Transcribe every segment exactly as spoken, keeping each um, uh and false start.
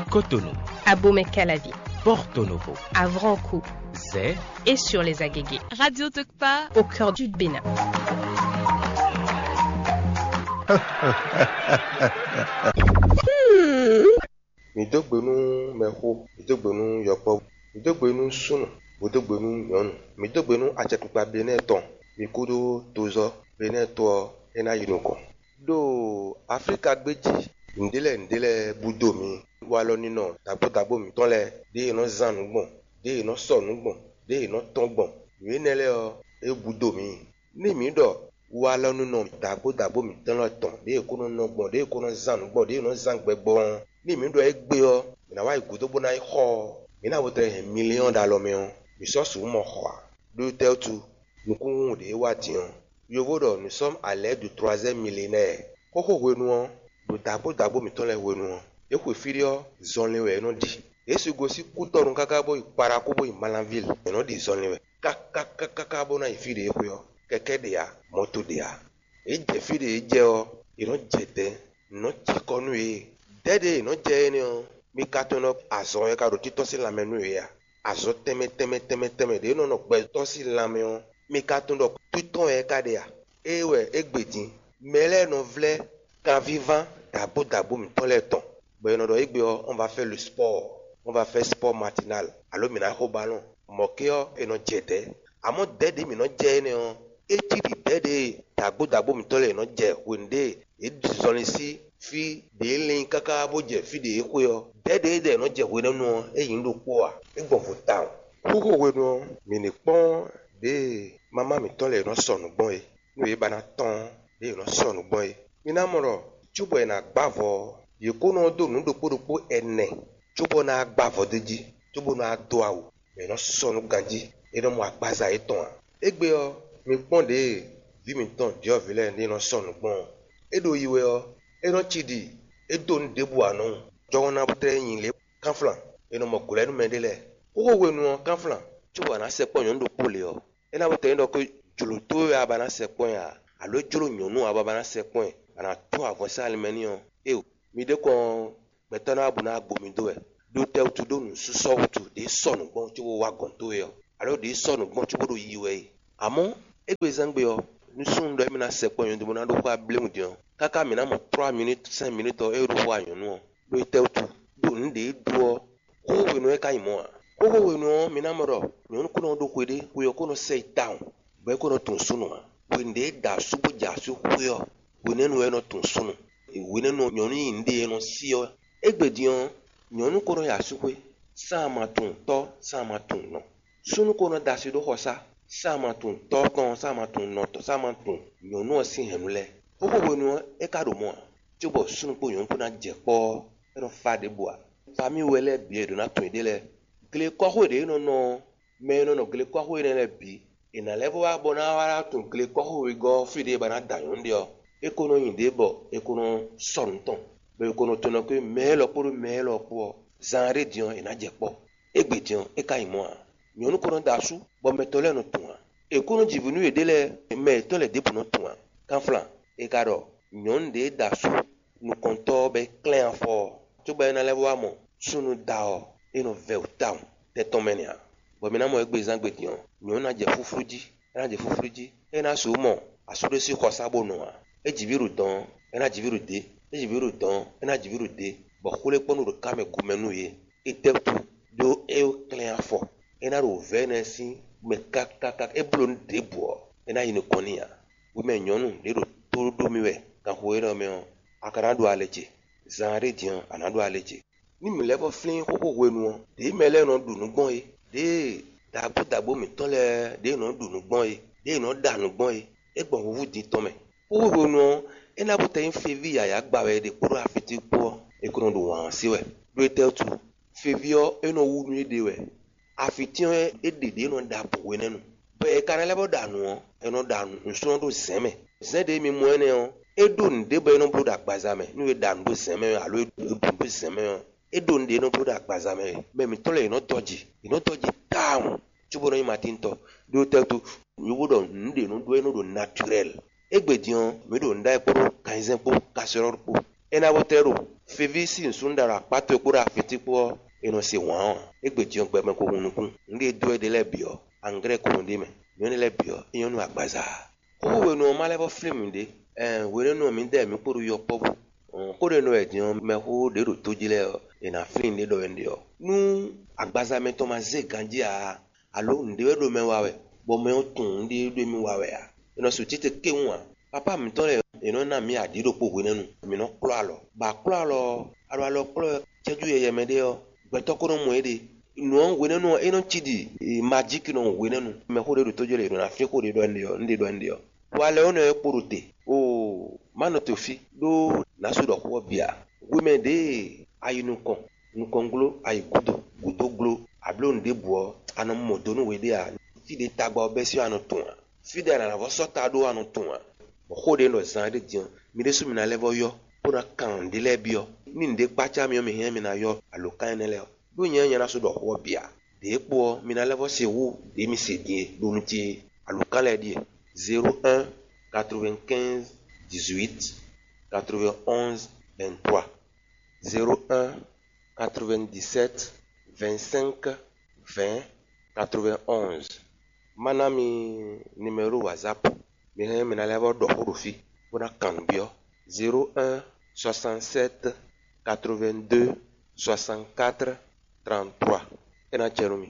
Cotonou, Abomey-Calavi, Porto Novo, Avranco, Zé et sur les Agege. Radio Tokpa au cœur du Bénin. Mǐ dó gbe nú mɛxó, mǐ dó gbe nú yɔkpɔ́vú, mǐ dó gbe nú súnnu, bó dó gbe nú nyɔ̌nu, mǐ dó gbe nú acɛkpikpa Benɛ́ɛ tɔn, mi kúdó tozɔ́ Benɛ́ɛ to ɔ́, é ná yi nukɔn. Ɖo Aflíka gbé jí, nǔɖé lɛ́ɛ nǔɖé lɛ́ɛ bú dó mǐ. Walɔ ninɔ dǎgbó dǎgbó mǐtɔn lɛ́ɛ, ɖěe è nɔ zán nǔ gbɔn, ɖěe è nɔ sɔ nǔ gbɔn, ɖěe è nɔ tɔ́n gbɔn, nǔ énɛ́ lɛ́ɛ ɔ́, é bú dó mǐ. Ní mǐ ɖɔ walɔ ninɔ dǎgbó dǎgbó mǐtɔn lɛ́ɛ tɔn, ɖěe è ko nɔ nɔ gbɔn, ɖěe è ko nɔ zán nǔ gbɔn, ɖěe è nɔ zán gbɛ gbɔn ɔ́, ní mǐ ɖɔ égbé ɔ́, mǐ ná wá yi gǔdo bó ná yi xɔ ɔ́, mǐ ná bo tlɛ hɛn miliyɔ́n ɖo alɔ mɛ ɔ́, mǐ sɔ́ sixú mɔ xɔ ǎ. Ɖó tɛ́ wútu? Nukúnhún ɖě wá din ɔ́, yovo ɖɔ nous sommes à l'ère du troisième millénaire. Xóxó hwenu ɔ́, ɖo dǎgbó dǎgbó mǐtɔn lɛ́ɛ hwenu ɔ́, yě xwe fí ɖé ɔ́, zɔnlin wɛ yě nɔ ɖi. Yě sixú gosín kútɔnu káká bó yi Kpaɖakú bó yi Malanvíl, yě nɔ ɖi zɔnlin wɛ káká káká bó ná yi fí ɖě e xwe ɔ́, kɛkɛ́ ɖe ǎ, mɔ̌to ɖe ǎ. Yě jɛ fí ɖě e jɛ ɔ́, yě nɔ jɛ dɛ̌n, nǔ nɔ cikɔ nú yě. Dɛ̌ ɖě yě nɔ jɛ énɛ́ ɔ́, mi ka tunwun ɖɔ azɔn wɛ ka ɖo títɔ́ sín lanmɛ nú yě a? Azɔn tɛnmɛ tɛnmɛ tɛnmɛ tɛnmɛ ɖě nɔ nɔ gbɛtɔ́ sín lanmɛ ɔ́, mi ka tunwun ɖɔ títɔ́ wɛ é ka ɖe a? Ée wɛ é gbe din. Mɛ lɛ́ɛ nɔ vlɛ́ kanvíván dǎgbó dǎgbó mǐtɔn lɛ́ɛ tɔn, bɔ è nɔ ɖɔ égbé ɔ́, on va faire le sport, on va faire sport matinal, alo mǐ ná xo balɔn. Mɔ̌ ké ɔ́, è nɔ jɛ dɛ̌. Amɔ̌ dɛ̌ ɖě mǐ nɔ jɛ énɛ́ ɔ́, é cí ɖi dɛ̌ ɖě e dǎgbó dǎgbó mǐtɔn lɛ́ɛ è nɔ jɛ hwenu ɖě yě ɖi zɔnlin sín fí ɖě lin káká bó jɛ fí ɖě e xwe ɔ́. Dɛ̌ ɖě e ɖɔ è nɔ jɛ hwenɛ́nu ɔ́, é nyí ɖokpó ǎ; é gbɔn vo tawun. Xóxó hwenu ɔ́, mǐ ní kpɔ́n ɖěe mamá mǐtɔn lɛ́ɛ nɔ sɔ nǔ gbɔn é, nú yě ba ná tɔ́n ɖě yě nɔ sɔ nǔ gbɔn é. Mi ná mɔ ɖɔ cóbɔ è nǎ gbá avɔ ɔ́, yě kó nɔ dó nǔ ɖokpó ɖokpó ɛnɛ cóbɔ ná gbá avɔ d'é jí, cóbó ná dó awu, bɔ è nɔ sɔ nú ganjí, é nɔ mɔ agbaza yětɔn ǎ. Égbé ɔ́, mi kpɔ́n ɖěe vǐ mǐtɔn ɖyɔ̌vǐ lɛ́ɛ ɖě nɔ sɔ nǔ gbɔn ɔ́, é ɖo yi wɛ ɔ́, é nɔ ci ɖi é dó nǔ ɖěbǔ ǎ nɔ́ wú. Jɔhɔn ná tlɛ nyi lě kánflán, è nɔ mɔ gǔlɛ́númɛ ɖé lɛ́ɛ. Xóxó hwenu ɔ́, kánflán cóbɔ a nǎ sɛkpɔ́ nyɔ̌nu ɖokpó lě ɔ́, é ná bo tɛ́ nyí ɖɔ jlǒ towe wɛ a ba ná sɛkpɔ́ ɛ ǎ, alǒ é jló nyɔ̌nu ɔ́ a ba ba ná sɛkpɔ́ ɛ, a nǎ tún avɔ sín alimɛ n'i ɔ́? Éeǒ, mi ɖě kɔn ɔ́, gbɛtɔ́ ná wá bó ná wá gbo mi dó wɛ. Ɖó tɛ́ wútu? Ɖó nǔsúsɔ́ wútu ɖě sɔ nǔ gbɔn cóbó wá gɔ̌n towe ɔ́, alǒ ɖě sɔ nǔ gbɔn cóbó ɖo yiyi wɛ é? Amɔ̌, égbé zán gbe ɔ́, nú súnnu ɖɔ émí ná sɛkpɔ́ nyɔ̌nu dó bó ná ɖó xó abléwún din ɔ́, káká mǐ ná mɔ trɔ́ minútu sɛ́n minútu ɔ́, é ɖó xó wá nyɔ̌nu ɔ́, ɖó tɛ́ wútu? Ɖó nǔ ɖě dó ɔ́, xóxó hwenu ɔ́ é ka nyí mɔ̌ ǎ. Xóxó hwenu ɔ́, mi ná mɔ ɖɔ nyɔ̌nu ko nɔ ɖó xwe ɖé, xwe ɔ́ ko nɔ sɛ yi tawun, bɔ é ko nɔ tunwun súnnu ǎ. Hwenu ɖě é da asú bó jɛ asú xwé ɔ́, hwenɛ́nu wɛ é nɔ tunwun súnnu. Hwenɛ́nu ɔ́, nyɔ̌nu nyi nǔɖé e nɔ sí ɔ́. Égbé din ɔ́, nyɔ̌nu ko nɔ yi asúxwé, sán ma tunwun tɔ́, sán ma tunwun nɔ. Súnnu ko nɔ da asi ɖó xɔsá, sán ma tunwun tɔ́ tɔn, sán ma tunwun nɔ tɔn, sán ma tunwun nyɔ̌nu ɔ́ sín hɛ̌nnu lɛ́ɛ. Xóxó hwenu ɔ́, é ka ɖo mɔ̌ ǎ, cóbɔ súnnu kpó nyɔ̌nu kpó ná jɛ kpɔ́ ɔ́, é nɔ fá ɖěbǔ ǎ. Famíi wɛ lɛ́ɛ bǐ wɛ è ɖǒ ná tunwun yěɖée lɛ́ɛ. Glekɔ́xwé ɖě é nɔ nɔ ɔ́, mɛ e nɔ nɔ glekɔ́xwé énɛ́ lɛ́ɛ bǐ, è nǎ lɛ́ vɔ́ wá bɔ ná wá tunwun glekɔ́xwé wegɔ́ ɔ́ fí ɖě è ba ná da nyɔ̌nu ɖe ɔ́, é ko nɔ nyi ɖě bɔ è ko nɔ sɔ nǔ tɔn, bɔ è ko nɔ tunwun ɖɔ mɛ élɔ́ kpódó mɛ élɔ́ kpó ɔ́, zan ɖé din ɔ́, è nǎ jɛ kpɔ́. Égbé din ɔ́, é ka nyí mɔ̌ ǎ. Nyɔ̌nu ko nɔ da asú, bɔ mɛ tɔn lɛ́ɛ nɔ tunwun ǎ. È ko nɔ ji vǐ nú yěɖée lɛ́ɛ, mɛ yětɔn lɛ́ɛ ɖěbǔ nɔ tunwun ǎ. Kánflán, è ka ɖɔ nyɔ̌nu ɖě da asú nukɔntɔ́ ɔ́ bɔ é klɛ́n afɔ ɔ́, cóbɔ é ná lɛ́ vɔ́ wá mɔ súnnu da ɔ́, é nɔ vɛ́ wǔ tawun tɛ́ tɔn mɛ nɛ́ ǎ. Bɔ mi ná mɔ égbé zán gbe din ɔ́, nyɔ̌nu ná jɛ fúflú jí, é ná jɛ fúflú jí, é ná sixú mɔ asú ɖé sín xɔsá bó nɔ ǎ. É ji vǐ ɖo dɔ̌n ɔ́, é ná ji vǐ ɖo dě; é ji vǐ ɖo dɔ̌n ɔ́, é ná ji vǐ ɖo dě, bɔ xwlékpɔ́nú ɖo ká mɛ gu mɛ nú yě. Étɛ́wútu? Ɖó é klɛ́n afɔ, é ná ɖo vɛ̌ énɛ́ sín mɛ káká, é bló nǔ ɖěbǔ ɔ́, é ná yi nukɔn n'i ǎ. Hwemɛ nyɔ̌nu ɖě ɖo tó ɖó mì wɛ ganxixo élɔ́ mɛ ɔ́, a ka ná ɖó alɛ ce; zan ɖé din ɔ́, a nǎ ɖó alɛ ce. Ní mǐ lɛ́ vɔ́ flín xóxó hwenu ɔ́, ɖěe mɛ lɛ́ɛ nɔ ɖu nǔ gbɔn é, ɖěe dǎgbó dǎgbó mǐtɔn lɛ́ɛ ɖěe nɔ ɖu nǔ gbɔn é, ɖěe nɔ ɖa nǔ gbɔn é, é gbɔn húhú din tɔn mɛ. Xóxó hwenu ɔ́, é ná bó tɛ nyí feví yǎyá gba wɛ è ɖe kpódó afitín kpó ɔ́, è ko nɔ ɖo wǎn ɔ́ sí wɛ. Ɖó étɛ́ wútu? Feví ɔ́, é nɔ wú nú éɖée wɛ. Afitín ɔ́, é ɖe ɖě nɔ ɖa bǔ hwenɛ́nu. Bɔ è ka ná lɛ́ bó ɖa nǔ ɔ́, è nɔ ɖa nǔsúnnú ɖó zɛ̌n mɛ. Zɛ̌n ɖě mi mɔ énɛ́ ɔ́, é ɖó nǔɖé bɔ é nɔ bló ɖo agbaza mɛ. Nú è ɖa nǔ ɖó zɛ̌n mɛ ɔ́, alo è ɖu nǔ ɖó zɛ̌n mɛ ɔ́, é ɖó nǔɖé é nɔ bló ɖo agbaza mɛ wɛ. Mɛ mǐtɔn lɛ́ɛ è nɔ dɔji, è nɔ dɔji tawun, cóbɔ é nɔ nyí Matín tɔn. Ɖó tɛ́ wútu? Nǔ bó ɖɔ nǔɖé nɔ ɖó é nɔ ɖo naturɛ́l. Égbé din ɔ́, mǐ ɖo nǔ ɖa wɛ kpódó kanzɛ́n kpó kasɔ́lɔ́ kpó. É ná bó tlɛ́ ɖo feví sín nǔsúnnú ɖo akpá towe kpódó afití kpó ɔ́, è nɔ se wǎn ɔ́, égbé din ɔ́ gbɛ mɛ ko hun nukún. Nǔɖé e dó éɖée lɛ́ɛ bǐ ɔ́, anglɛ́ ko hun ɖ'é mɛ. Nǔ énɛ́ lɛ́ɛ bǐ ɔ́, é nyɔ́ nú agbaza ǎ. Xóxó hwenu ɔ́, má lɛ́ vɔ́ flín mǐɖée. Ɛɛn, hwenɛ́nu ɔ́, mǐdɛɛ mǐ kpo ɖo yɔ kpɔ́ bú. Xó ɖé nɔ wɛ din ɔ́, mɛxó ɖě ɖo tó jí lɛ́ɛ ɔ́, è nǎ flín ɖě ɖɔ wɛ un ɖe ɔ́. Nú agbaza mɛtɔn ma zé ganjí ǎ, alo nǔɖé wɛ ɖo mɛ wa wɛ, bɔ mɛ ɔ́ tunwun nǔɖé ɖo émí wa wɛ ǎ, è nɔ su títí kéwún ǎ. Papá mǐtɔn lɛ́ɛ, è nɔ ná mǐ aɖǐ ɖokpó hwenɛ́nu, mǐ nɔ klɔ́ alɔ. Bɔ a klɔ́ alɔ ɔ́, a ɖo alɔ klɔ́ wɛ cɛ́jú yɛyɛ mɛ ɖé ɔ́, gbɛtɔ́ ko nɔ mɔ éɖée. Nǔ ɔ́ hwenɛ́nu ɔ́, é nɔ cí ɖi majíki nɔ hwenɛ́nu. Mɛxó ɖé ɖo tó jí lɛ́ɛ, è nɔ ná flín xó ɖé ɖɔ un ɖe ɔ́, un ɖe ɖɔ un ɖe ɔ́. Walɛ ɔ́ nɔ e kpo ɖo te. Oo, má nɔ te fí, ɖó nǎ su ɖɔ xó ɔ́ bǐ ǎ. Hwemɛ ɖěe a yi nukɔn, nukɔn gló, a yi gǔdo, gǔdo gló, a bló nǔ ɖěbǔ ɔ́, a nɔ mɔ do nú we ɖé ǎ. Fí ɖě tagba ɔ́ bɛ́sín ɔ́, a nɔ tunwun ǎ. Fí ɖě a nǎ vɔ́ sɔ́ ta ɖó ɔ́, a nɔ tunwun ǎ. Bɔ xó ɖě nɔ zán ɖé din ɔ́, mi ɖésú mi ná lɛ́ vɔ́ yɔ, bó ná kan nǔɖé lɛ́ɛ byɔ́. Ní nǔɖé kpácá mi ɔ́, mi hɛn mi ná yɔ alǒkan énɛ́ lɛ́ɛ ɔ́. Ɖó nyɛ ɔ́, nyɛ ná sú ɖɔ xó ɔ́ bǐ ǎ. Ɖě kpo ɔ́, mi ná lɛ́ vɔ́ se hú ɖě mi se din é ɖó nú ce é. Alǒkan lɛ́ɛ ɖíe: zéro un, quatre-vingt-quinze, dix-huit, quatre-vingt-onze, vingt-trois, zéro un, quatre-vingt-dix-sept, vingt-cinq, vingt, quatre-vingt-onze. Má ná mi numéro WhatsApp. Mi hɛn mi ná lɛ́ vɔ́ ɖɔ xó ɖo fí, bó ná kan nǔ byɔ́: zéro un, soixante-sept, quatre-vingt-deux, soixante-quatre, trente-trois. É ná jɛ nú mi.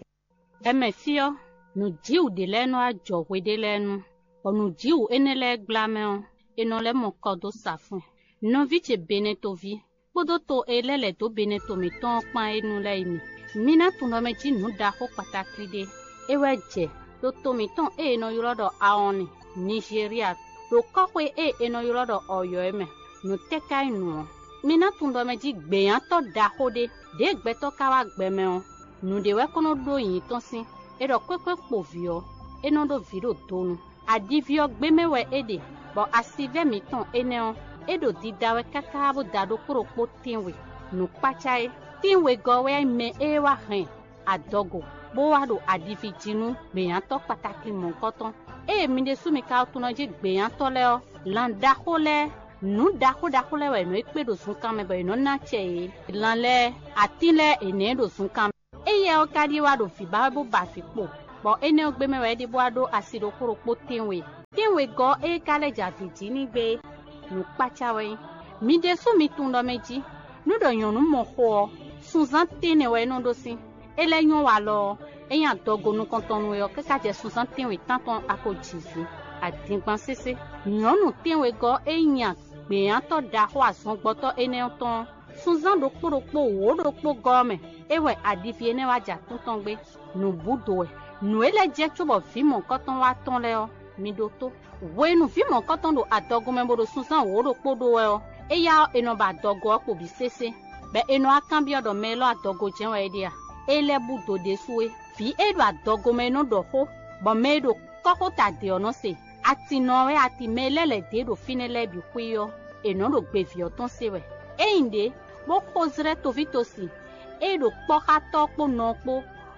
Ɛmɛ fí ɔ́, nǔjíwǔ ɖé lɛ́ɛ nɔ wá jɔ hweɖé lɛ́ɛ nu, bɔ nǔjíwǔ énɛ́ lɛ́ɛ gbla mɛ ɔ́, è nɔ lɛ́ mɔ kɔ dó sa fún ɛ. Nɔví ce Benɛtoví kpódó to e lɛ́ lɛ̌ dó Benɛto mǐtɔn ɔ́ kpán é nu lɛ́ɛ yi mì. Mi ná tunwun ɖɔ mɛ jí nǔ ɖaxó kpatáklí ɖé. É wɛ jɛ ɖo to mǐtɔn e è nɔ ylɔ́ ɖɔ Awɔnlin, Nizeriya, ɖo kɔ́xwé e è nɔ ylɔ́ ɖɔ Ɔyɔ̌ é mɛ. Nǔ tɛ́ ka nyí nǔ ɔ́? Mi ná tunwun ɖɔ mɛ jí gběnyátɔ́ ɖaxó ɖé, ɖěe gbɛtɔ́ ka wá gbɛ mɛ ɔ́, nǔɖé wɛ kɔn nɔ ɖó nyǐ tɔn sín. È ɖɔ kwékwe kpo vǐ ɔ́, é nɔ ɖó vǐ ɖo donu. Aɖiví ɔ́ gbé mɛ wɛ é ɖe, bɔ asivɛ́ mǐtɔn énɛ́ ɔ́, é ɖo dida wɛ káká bó da ɖokpó ɖokpó tɛ́nwe. Nǔkpácá é, tɛ́nwegɔ́ wɛ nyí mɛ e wá hɛn adɔgo, bó wá ɖo aɖiví jí nú gběnyátɔ́ kpatákli mɔ̌hunkɔtɔn. Ée mi ɖésú mi ka tunwun jí gběnyátɔ́ lɛ́ɛ ɔ́, lan ɖaxó lɛ́ɛ, nǔ ɖaxó ɖaxó lɛ́ɛ wɛ è nɔ yi kpé ɖo zunkan mɛ bɔ è nɔ ná acɛ yě. Lan lɛ́ɛ, atín lɛ́ɛ è nɛ̌ ɖo zunkan mɛ. Éyɛ́ ɔ́ ka ɖíe wá ɖo vǐ ba wɛ bó ba vǐ kpo, bɔ énɛ́ ɔ́ gbé mɛ wɛ é ɖe bó wá ɖó asi ɖokpó ɖokpó tɛ́nwe. Tɛ́nwegɔ́ e ka lɛ́ jɛ avǐ jí n'i gbé é, nǔkpácá wɛ nyí. Mi ɖésú mi tunwun ɖɔ mɛ jí, nú ɖɔ nyɔ̌nu mɔ xo ɔ́, sunzán tɛ́nnɛ wɛ é nɔ ɖó sín. É lɛ́ nyɔ́ walɔ ɔ́, é nyí adɔgo nukɔntɔn nú we ɔ́, káká jɛ sunzán tɛ́nwe tántɔn a ko ji vǐ. Adingban sésé. Nyɔ̌nu tɛ́nwegɔ́ e nyí gběnyátɔ́ ɖaxó azɔngbɔtɔ́ énɛ́ ɔ́ tɔn ɔ́, sunzán ɖokpó ɖokpó wǒ ɖokpó gɔ́ ɔ́ mɛ, é wɛ aɖiví énɛ́ wá jɛ atún tɔn gbé. Nǔbúdo wɛ. Nǔ e lɛ́ jɛ cóbɔ vǐ mɔ̌kɔtɔn wá tɔ́n lɛ́ɛ ɔ́, mi ɖótó. Hwenu vǐ mɔ̌kɔtɔn ɖo adɔgo mɛ bó ɖo sunzán wǒ ɖokpó ɖó wɛ ɔ́, éyá ɔ́, è nɔ ba adɔgo ɔ́ kpo bǐ sésé, bɔ è nɔ wá kanbyɔ́ ɖɔ mɛ élɔ́ adɔgo jɛ́n wɛ é ɖe a? É lɛ́ bú do ɖésú é. Vǐ e ɖo adɔgo mɛ é nɔ ɖɔ xó, bɔ mɛ e ɖo kɔ́xota ɖě ɔ́ nɔ se. Atinnɔ ɔ́ wɛ ati mɛ e lɛ́ lɛ̌ dó e ɖo fínɛ́ lɛ́ɛ bǐ xwí ɔ́, è nɔ́ ɖo gbeví ɔ́ tɔn se wɛ. Ényí ɖě, bó xo zlɛ́ tovítɔ́si e ɖo kpɔ́xátɔ́ kpó nɔ kpó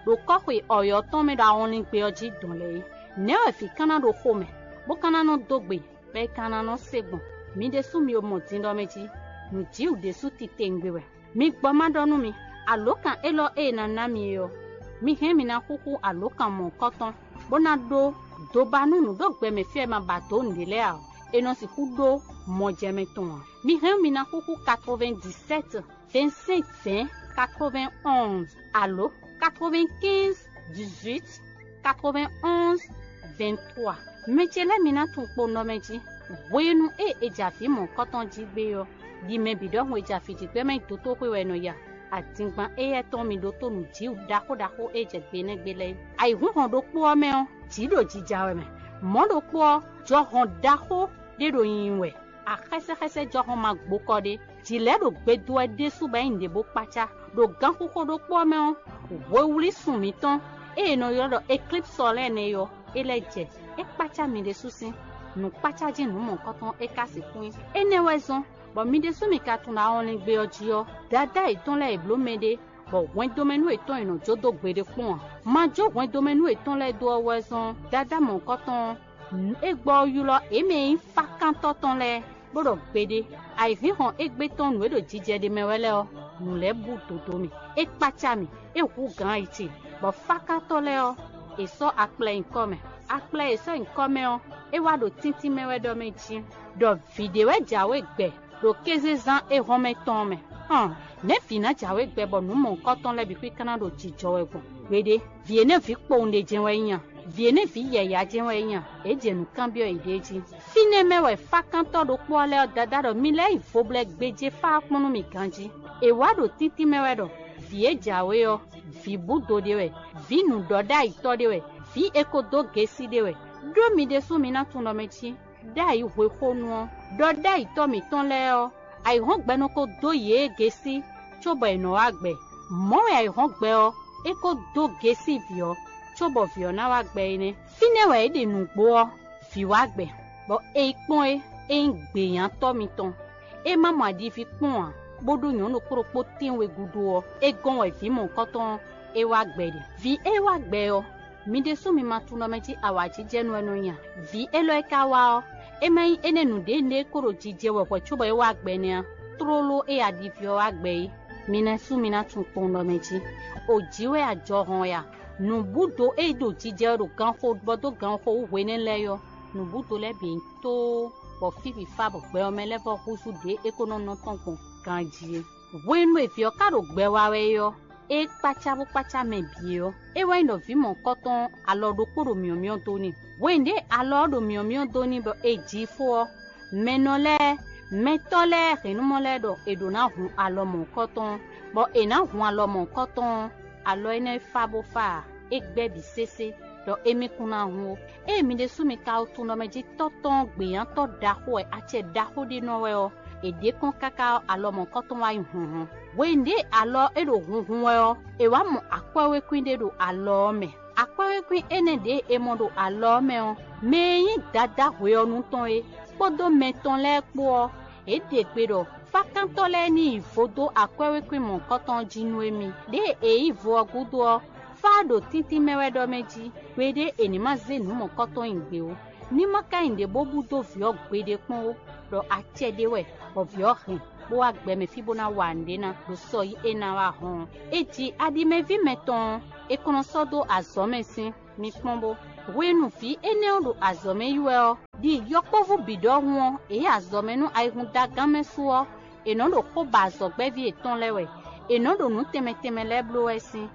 ɖo kɔ́xwe ɔ̌yɔ́ tɔn mɛ ɖo awɔnlingbe ɔ́ jí dɔn lɛ́ɛ é. Nɛ̌ wɛ vǐ ka ná ɖo xomɛ, bó ka ná nɔ dó gbe, bɔ è ka ná nɔ se gbɔn? Mi ɖésú mi mɔ din ɖɔ mɛ jí, nǔjíwǔ ɖésú titewungbe wɛ. Mi gbɔ má ɖɔ nú mi, alǒkan élɔ́ e è nǎ ná mi é ɔ́, mi hɛn mi ná xúxú alǒkan mɔ̌hunkɔtɔn, bó ná ɖó doba nú nǔɖogbɛmɛ fí e ma ba dǒ nǔɖé lɛ́ɛ ǎ ɔ́, è nɔ sixú ɖó mɔjɛmɛ tɔn ǎ. Mi hɛn mi ná xúxú quatre-vingt-dix-sept, vingt-cinq, vingt, quatre-vingt-onze alo quatre-vingt-quinze, dix-huit, quatre-vingt-onze, vingt-trois. Mɛ ce lɛ́ɛ mi ná tunwun kpo nɔ mɛ jí, hwenu e è jɛ avǐ mɔ̌hunkɔtɔn jí gbé ɔ́, ɖi mɛ bǐ ɖɔhun e jɛ avǐ jí gbé mɛ nyi dotóxwé wɛ è nɔ ya. Adingban éyɛ́ tɔn mi ɖótó nǔjíwǔ ɖaxó ɖaxó e jɛ gbe nɛ́ gbe lɛ́ɛ. Ayǐhúnhɔn ɖokpó ɔ́ mɛ ɔ́, jǐ ɖo jija wɛ mɛ. Mɔ̌ ɖokpó ɔ́, jɔhɔn ɖaxó ɖé ɖo nyinyi wɛ. Axɛ́sɛ́xɛ́sɛ́ jɔhɔn ma gbo kɔ ɖé. Jǐ lɛ́ɛ ɖo gbe dó wɛ ɖésú bɔ é nyí nǔɖé bó kpácá. Ɖo ganxixo ɖokpó ɔ́ mɛ ɔ́, hwewlí sun mǐtɔn e è nɔ ylɔ́ ɖɔ eklípsɔ lɛ́ɛ nɛ́ ɔ́, é lɛ́ jɛ. É kpácá mi ɖésú sín. Nǔkpácá jí nǔ mɔ̌hunkɔtɔn é ka sixú nyí. Énɛ́ wɛ zɔ́n, bɔ mi ɖésú mi ka tunwun ɖɔ awɔnlingbe ɔ́ jí ɔ́, dadá yětɔn lɛ́ɛ è blǒ mɛɖé, bɔ hwɛndomɛnú yětɔn è nɔ jó dó gbeɖé kpɔ́n ǎ. Ma jó hwɛndomɛnú yětɔn lɛ́ɛ dó ɔ́ wɛ zɔ́n dadá mɔ̌hunkɔtɔn ɔ́, nǔ e gbɔ ɔ́ ylɔ́ yě mɛ e nyí fákántɔ́ tɔn lɛ́ɛ, bó ɖɔ gbeɖé, ayǐhínhɔn égbé tɔn nǔ e ɖo jijɛ ɖe mɛ wɛ lɛ́ɛ ɔ́, nǔ lɛ́ɛ bú dǒdó mì. É kpácá mì, é hú gǎn ayi ce, bɔ fákántɔ́ lɛ́ɛ ɔ́, è sɔ́ akplɛ nyi kɔ́ mɛ. Akplɛ e è sɔ́ nyi kɔ́ mɛ ɔ́, é wá ɖo tíntín mɛ wɛ ɖɔ mɛ jí, ɖɔ vǐ ɖé wɛ jǎwe gbɛ ɖo kézezán éhɔ́nmɛ tɔn ɔ́ mɛ. Hɔn, nɛ̌ vǐ ná jǎwe gbɛ bɔ nǔ mɔ̌hunkɔtɔn lɛ́ɛ bǐ xwíkánná ɖo jijɔ wɛ gbɔn? Gbeɖé, vǐ énɛ́ vǐ kpowun ɖé jɛ́n wɛ é nyí a? Vǐ énɛ́ vǐ yɛ̌yá jɛ́n wɛ é nyí a? È jɛ nǔ kanbyɔ́ yěɖée jí. Fínɛ́ mɛ wɛ fákántɔ́ ɖokpó ɔ́ lɛ́ɛ ɔ́ dadá ɖɔ mi lɛ́ yi voblɛ́ gbéjé fá ɔ́ kpɔ́n nú mì ganjí. È wǎ ɖo tíntín mɛ wɛ ɖɔ vǐ e jǎwe ɔ́, vǐ búdo ɖé wɛ, vǐ nǔɖɔɖ'ayǐtɔ́ ɖé wɛ, vǐ e ko dó gesí ɖé wɛ. Ɖó mi ɖésú mi ná tunwun ɖɔ mɛ cí ɖ'ayǐ hwexónu ɔ́, ɖɔ ɖ'ayǐtɔ́ mǐtɔn lɛ́ɛ ɔ́, ayǐhɔ́ngbe nɔ ko dó yě gesí cóbɔ è nɔ wá gbɛ. Mɔ̌ wɛ ayǐhɔ́ngbe ɔ́, é ko dó gesí vǐ ɔ́, cóbɔ vǐ ɔ́ ná wá gbɛ é nɛ́. Fínɛ́ wɛ é ɖe nǔgbó ɔ́, vǐ wá gbɛ, bɔ è yi kpɔ́n é, é nyí gběnyátɔ́ mitɔn. É má mɔ aɖiví kpɔ́n ǎ, bó ɖó nyɔ̌nu ɖokpó ɖokpó tɛ́nwe gúdo ɔ́, é gɔ́n wɛ vǐ mɔ̌hunkɔtɔn ɔ́, é wá gbɛ ɖe. Vǐ e wá gbɛ ɔ́, mi ɖésú mi ma tunwun ɖɔ mɛ cí awǎjijɛnú wɛ nɔ nya. Vǐ élɔ́ e ka wá ɔ́, é má nyí énɛ́ nǔɖé nɛ́ kó ɖo jijɛ wɛ hwɛ̌ cóbɔ é wá gbɛ nɛ́ á, tlóló e aɖiví ɔ́ wá gbɛ é. Mi ná sú mi ná tunwun kpowun ɖɔ mɛ jí. O jǐ wɛ ajɔhɔn ya. Nǔbúdo e ɖo jijɛ wɛ ɖo ganxo bɔ dó ganxo wú hwenɛ́ lɛ́ɛ ɔ́, nǔbúdo lɛ́ɛ bǐ nyí tóó, bɔ fí bǐ fá bɔ gbɛ ɔ́ mɛ lɛ́ vɔ́ húzú ɖě é ko nɔ nɔ tɔn gbɔn ganjí é. Hwenu e vǐ ɔ́ ka ɖo gbɛ wa wɛ é ɔ́, é kpácá bó kpácá mɛ bǐ é ɔ́, é wɛ nyí ɖɔ vǐ mɔ̌hunkɔtɔn alɔ ɖokpó ɖo myɔ̌myɔ́ dó n'i. Hwenu ɖě alɔ ɔ́ ɖo myɔ̌myɔ́ dó n'i bɔ è ji i fó ɔ́, mɛnɔ lɛ́ɛ, mɛtɔ́ lɛ́ɛ hɛ̌nnumɔ lɛ́ɛ ɖɔ è ɖǒ ná hun alɔ mɔ̌hunkɔtɔn ɔ́, bɔ è nǎ hun alɔ mɔ̌hunkɔtɔn ɔ́, alɔ énɛ́ e fá bó fá ǎ, é gbɛ́ bǐ sésé, ɖɔ émí kún ná hun ó. Ée mi ɖésú mi ka wo tunwun ɖɔ mɛ jí tɔ́ tɔn ɔ́ gběnyátɔ́ ɖaxó wɛ acɛ ɖaxó ɖé nɔ wɛ ɔ́, è ɖě kɔn káká ɔ́, alɔ mɔ̌hunkɔtɔn wá nyí hunhun. Hwenu ɖě alɔ ɔ́ é ɖo hunhun wɛ ɔ́, è wǎ mɔ akwɛ́wékwín ɖé ɖo alɔ ɔ́ mɛ. Akwɛ́wékwín énɛ́ ɖě è mɔ ɖo alɔ ɔ́ mɛ ɔ́, mɛ e nyí dadá hwe ɔ́ nu tɔn é, kpódó mɛ tɔn lɛ́ɛ kpó ɔ́, yě ɖe gbe ɖɔ fákántɔ́ lɛ́ɛ ní yi vo dó akwɛ́wékwín mɔ̌hunkɔtɔn ɔ́ jí nú émí. Ɖěe è yǐ vo ɔ́ gúdo ɔ́, fá ɖo tíntín mɛ wɛ ɖɔ mɛ jí, gbeɖé è ní má zé nǔ mɔ̌hunkɔtɔn nyi gbě ó. Ní má ka nyí ɖě bó bú dó vǐ ɔ́ gbeɖé kpɔ́n ó, ɖɔ acɛ ɖé wɛ, bɔ vǐ ɔ́ hɛn, bó wá gbɛ mɛ fí bó ná wa nǔɖé ná ɖo sɔ yi é ná wá hɔn ɔ́. È ji aɖimɛví mɛtɔn ɔ́, è kɔn nɔ sɔ́ dó azɔ̌ mɛ sín. Mi kpɔ́n bó. Hwenu vǐ énɛ́ ɔ́ ɖo azɔ̌ mɛ yi wɛ ɔ́, ɖi yɔkpɔ́vú bǐ ɖɔhun ɔ́, è yí azɔ̌ mɛ nú ayihúndagán mɛ su ɔ́, è nɔ ɖo xó ba azɔ̌gbɛ́ví yětɔn lɛ́ɛ wɛ; è nɔ ɖo nǔ tɛnmɛ tɛnmɛ lɛ́ɛ bló wɛ sín.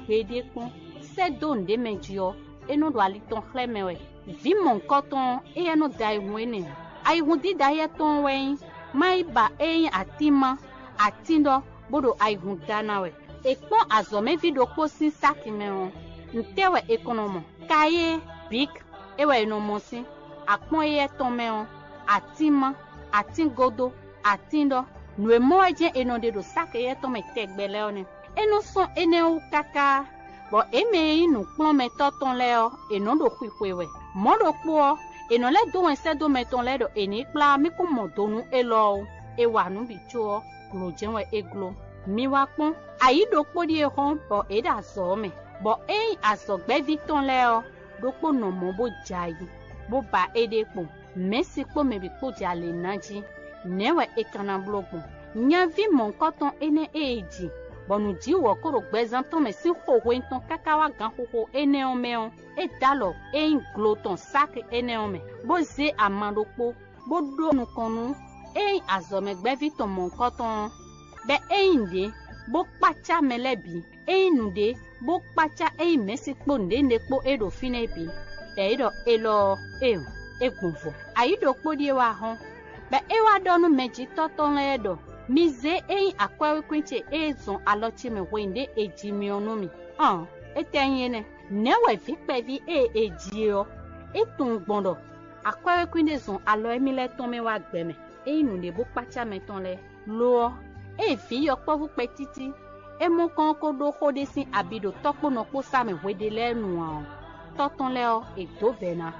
Gbeɖé kpɔ́n, sɛ́ dó nǔɖé mɛ jí ɔ́, é nɔ ɖo ali tɔn xlɛ́ mɛ wɛ. Vǐ mɔ̌hunkɔtɔn ɔ́, éyɛ́ nɔ dó ayihún énɛ́ ǎ. Ayihún dídá éyɛ́ tɔn wɛ nyí má yi ba é nyí atínma, atín ɖɔ, bó ɖo ayihún da ná wɛ. È kpɔ́n azɔ̌mɛví ɖokpó sín sáki mɛ ɔ́, ntɛ́ wɛ è kɔn nɔ mɔ? Kayé, bǐk, é wɛ è nɔ mɔ sín. Akpɔ́n éyɛ́ tɔn mɛ ɔ́, atínma, atín godó, atín ɖɔ, nǔ e mɔ wɛ jɛ́n è nɔ ɖe ɖo sáki éyɛ́ tɔn mɛ tɛgbɛ lɛ́ɛ ɔ́ nɛ́. É nɔ sɔ́n énɛ́ wú káká, bɔ é mɛ e nyí nǔkplɔ́nmɛtɔ́ tɔn lɛ́ɛ ɔ́, è nɔ́ ɖo xwixwe wɛ. Mɔ̌ ɖokpó ɔ́, è nɔ lɛ́ dó wɛn sɛ́ dó mɛ tɔn lɛ́ɛ ɖɔ è nǐ kplá mì kún mɔ do nú élɔ́ ó. È wa nǔ bǐ có ɔ́, glo jɛ́n wɛ é gló. Mi wá kpɔ́n, ayǐ ɖokpó ɖíe hɔ́n bɔ è ɖo azɔ̌ ɔ́ mɛ, bɔ é nyí azɔ̌gbɛ́ví tɔn lɛ́ɛ ɔ́, ɖokpó nɔ mɔ̌ bó jɛ ayǐ, bó ba éɖée kpɔn. Mɛ̌si kpó mɛ bǐ kpó jɛ alě ná jí. Nɛ̌ wɛ è ka ná bló gbɔn? Nyaví mɔ̌hunkɔtɔn énɛ́ e è ji, bɔ nǔjíwǔ ɔ́ ko ɖo gbɛzán tɔn mɛ sín xo hwenu tɔn káká wá ganxixo énɛ́ ɔ́ mɛ ɔ́, é dó alɔ e nyí glo tɔn sáki énɛ́ ɔ́ mɛ, bó zé ama ɖokpó, bó ɖó nukɔn nú e nyí azɔ̌mɛgbɛ́ví tɔn mɔ̌hunkɔtɔn ɔ́, bɔ é nyí nǔɖé, bó kpácá mɛ lɛ́ɛ bǐ. É nyí nǔɖé, bó kpácá é nyí mɛ̌si kpó nǔɖénúɖé kpó e ɖo fínɛ́ bǐ, bɔ é ɖɔ élɔ́ ɔ́, éeǒ, é gbɔn vɔ. Ayǐ ɖokpó ɖíe wá hɔ́n, bɔ é wá ɖɔ nú mɛjitɔ́ tɔn lɛ́ɛ ɖɔ: Mi zé é nyí akwɛ́wékwín ce e zɔn alɔ ce mɛ hwenu ɖě è ji mi ɔ́ nú mì. Ɔn, étɛ́ nyí énɛ́? Nɛ̌ wɛ vǐ kpɛví e è ji é ɔ́, é tunwun gbɔn ɖɔ akwɛ́wékwín ɖé zɔn alɔ émí lɛ́ɛ tɔn mɛ wá gbɛ mɛ? É nyí nǔɖé bó kpácá mɛ tɔn lɛ́ɛ. Lo ɔ́, ée vǐ yɔkpɔ́vú kpɛtítí e mɔ kɔn ɔ́ ko ɖó xó ɖé sín abi ɖo tɔ́ kpó nɔ kpó sá mɛ hweɖé lɛ́ɛ nu ǎ ɔ́, tɔ́ tɔn lɛ́ɛ ɔ́, è dǒ vɛ̌ ná.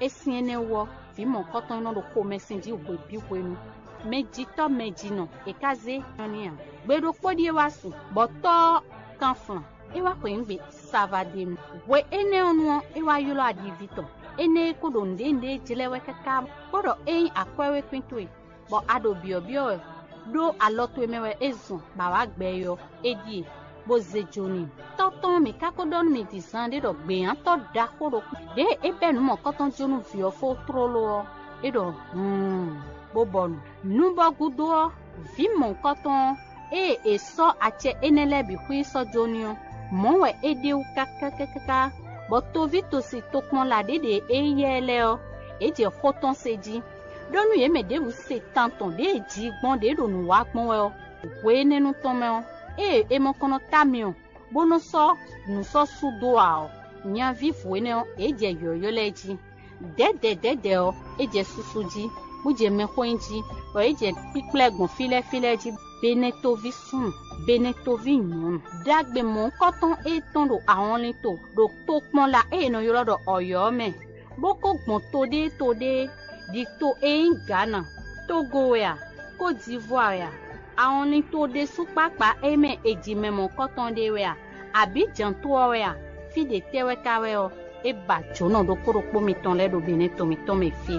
É sín énɛ́ wú ɔ́, vǐ mɔ̌hunkɔtɔn e nɔ ɖo xomɛsin jí hwe bǐ hwenu, mɛjitɔ́ mɛjinɔ è ká zé nyɔ́ n'i ǎ. Gbe ɖokpó ɖíe wá su, bɔ tɔ́ ɔ́ kan flan, é wá xweyǐgbe savadenu. Hwe énɛ́ ɔ́ nu ɔ́, é wá ylɔ́ aɖiví tɔn. Énɛ́ é kó ɖo nǔɖénúɖé jlɛ́ wɛ káká, bó ɖɔ é nyí akwɛ́wékwín towe. bɔ a ɖo byɔ̌byɔ́ wɛ, ɖó alɔ towe mɛ wɛ é zɔn bɔ a wǎ gbɛ é ɔ́, é ɖíe, bó zé jó n'i. Tɔ́ tɔn, mǐ ka ko ɖɔ nú mi din zaanɖé ɖɔ gběnyátɔ́ ɖaxó ɖokpó ɖěe é bɛ́ nǔ mɔ̌kɔtɔn jó nú vǐ ɔ́ fó tlóló ɔ́, é ɖɔ hǔun, bó bɔ nǔ. Nú bɔ gúdo ɔ́, vǐ mɔ̌kɔtɔn ɔ́, ée è sɔ́ acɛ énɛ́ lɛ́ɛ bǐ xwí sɔ́ jó n'i ɔ́, mɔ̌ wɛ é ɖe wú káká káká, bɔ toví tosi tokpɔnla ɖě ɖe é yá ɛ lɛ́ɛ ɔ́, yě jɛ xó tɔn se jí. Ɖó nú yě mɛ ɖěbǔ se tan tɔn ɖěe ji gbɔn ɖě ɖo nǔ wa gbɔn wɛ ɔ́, hwe énɛ́ nu tɔn mɛ ɔ́, ée è mɔ kɔn nɔ ká myɔ, bó nɔ́ sɔ́ nǔ sɔ́ sú dó ǎ ɔ́, nyaví vǔ énɛ́ ɔ́, yě jɛ yɔ̌yɔ́ lɛ́ɛ jí. Dɛ̌dɛ̌ dɛ̌dɛ̌ ɔ́, é jɛ susu jí, bó jɛ mɛxó nyi jí, bɔ é jɛ kpíkplɛ́ gbɔn fí lɛ́ɛ fí lɛ́ɛ jí, Benɛtoví súnnu, Benɛtoví nyɔ̌nu. Ɖagbe mɔ̌hunkɔtɔn e tɔ́n ɖo ahɔnlin to ɖo tokpɔnla e è nɔ ylɔ́ ɖɔ Ɔ̌yɔ́ ɔ́ mɛ, bó kó gbɔn to ɖéé to ɖéé, ɖi to e nyí Gǎna, Tógo wɛ a, Kódivwá wɛ a, ahɔnlin to ɖésú kpákpá e mɛ è ji mɛ mɔ̌hunkɔtɔn ɖé wɛ a, abǐ jǎn to ɔ́ wɛ a, fí ɖě tɛ́ wɛ ka wɛ ɔ́, é ba jǒnɔ ɖokpó ɖokpó mitɔn lɛ́ɛ ɖo Benɛ́ to mǐtɔn mɛ fí.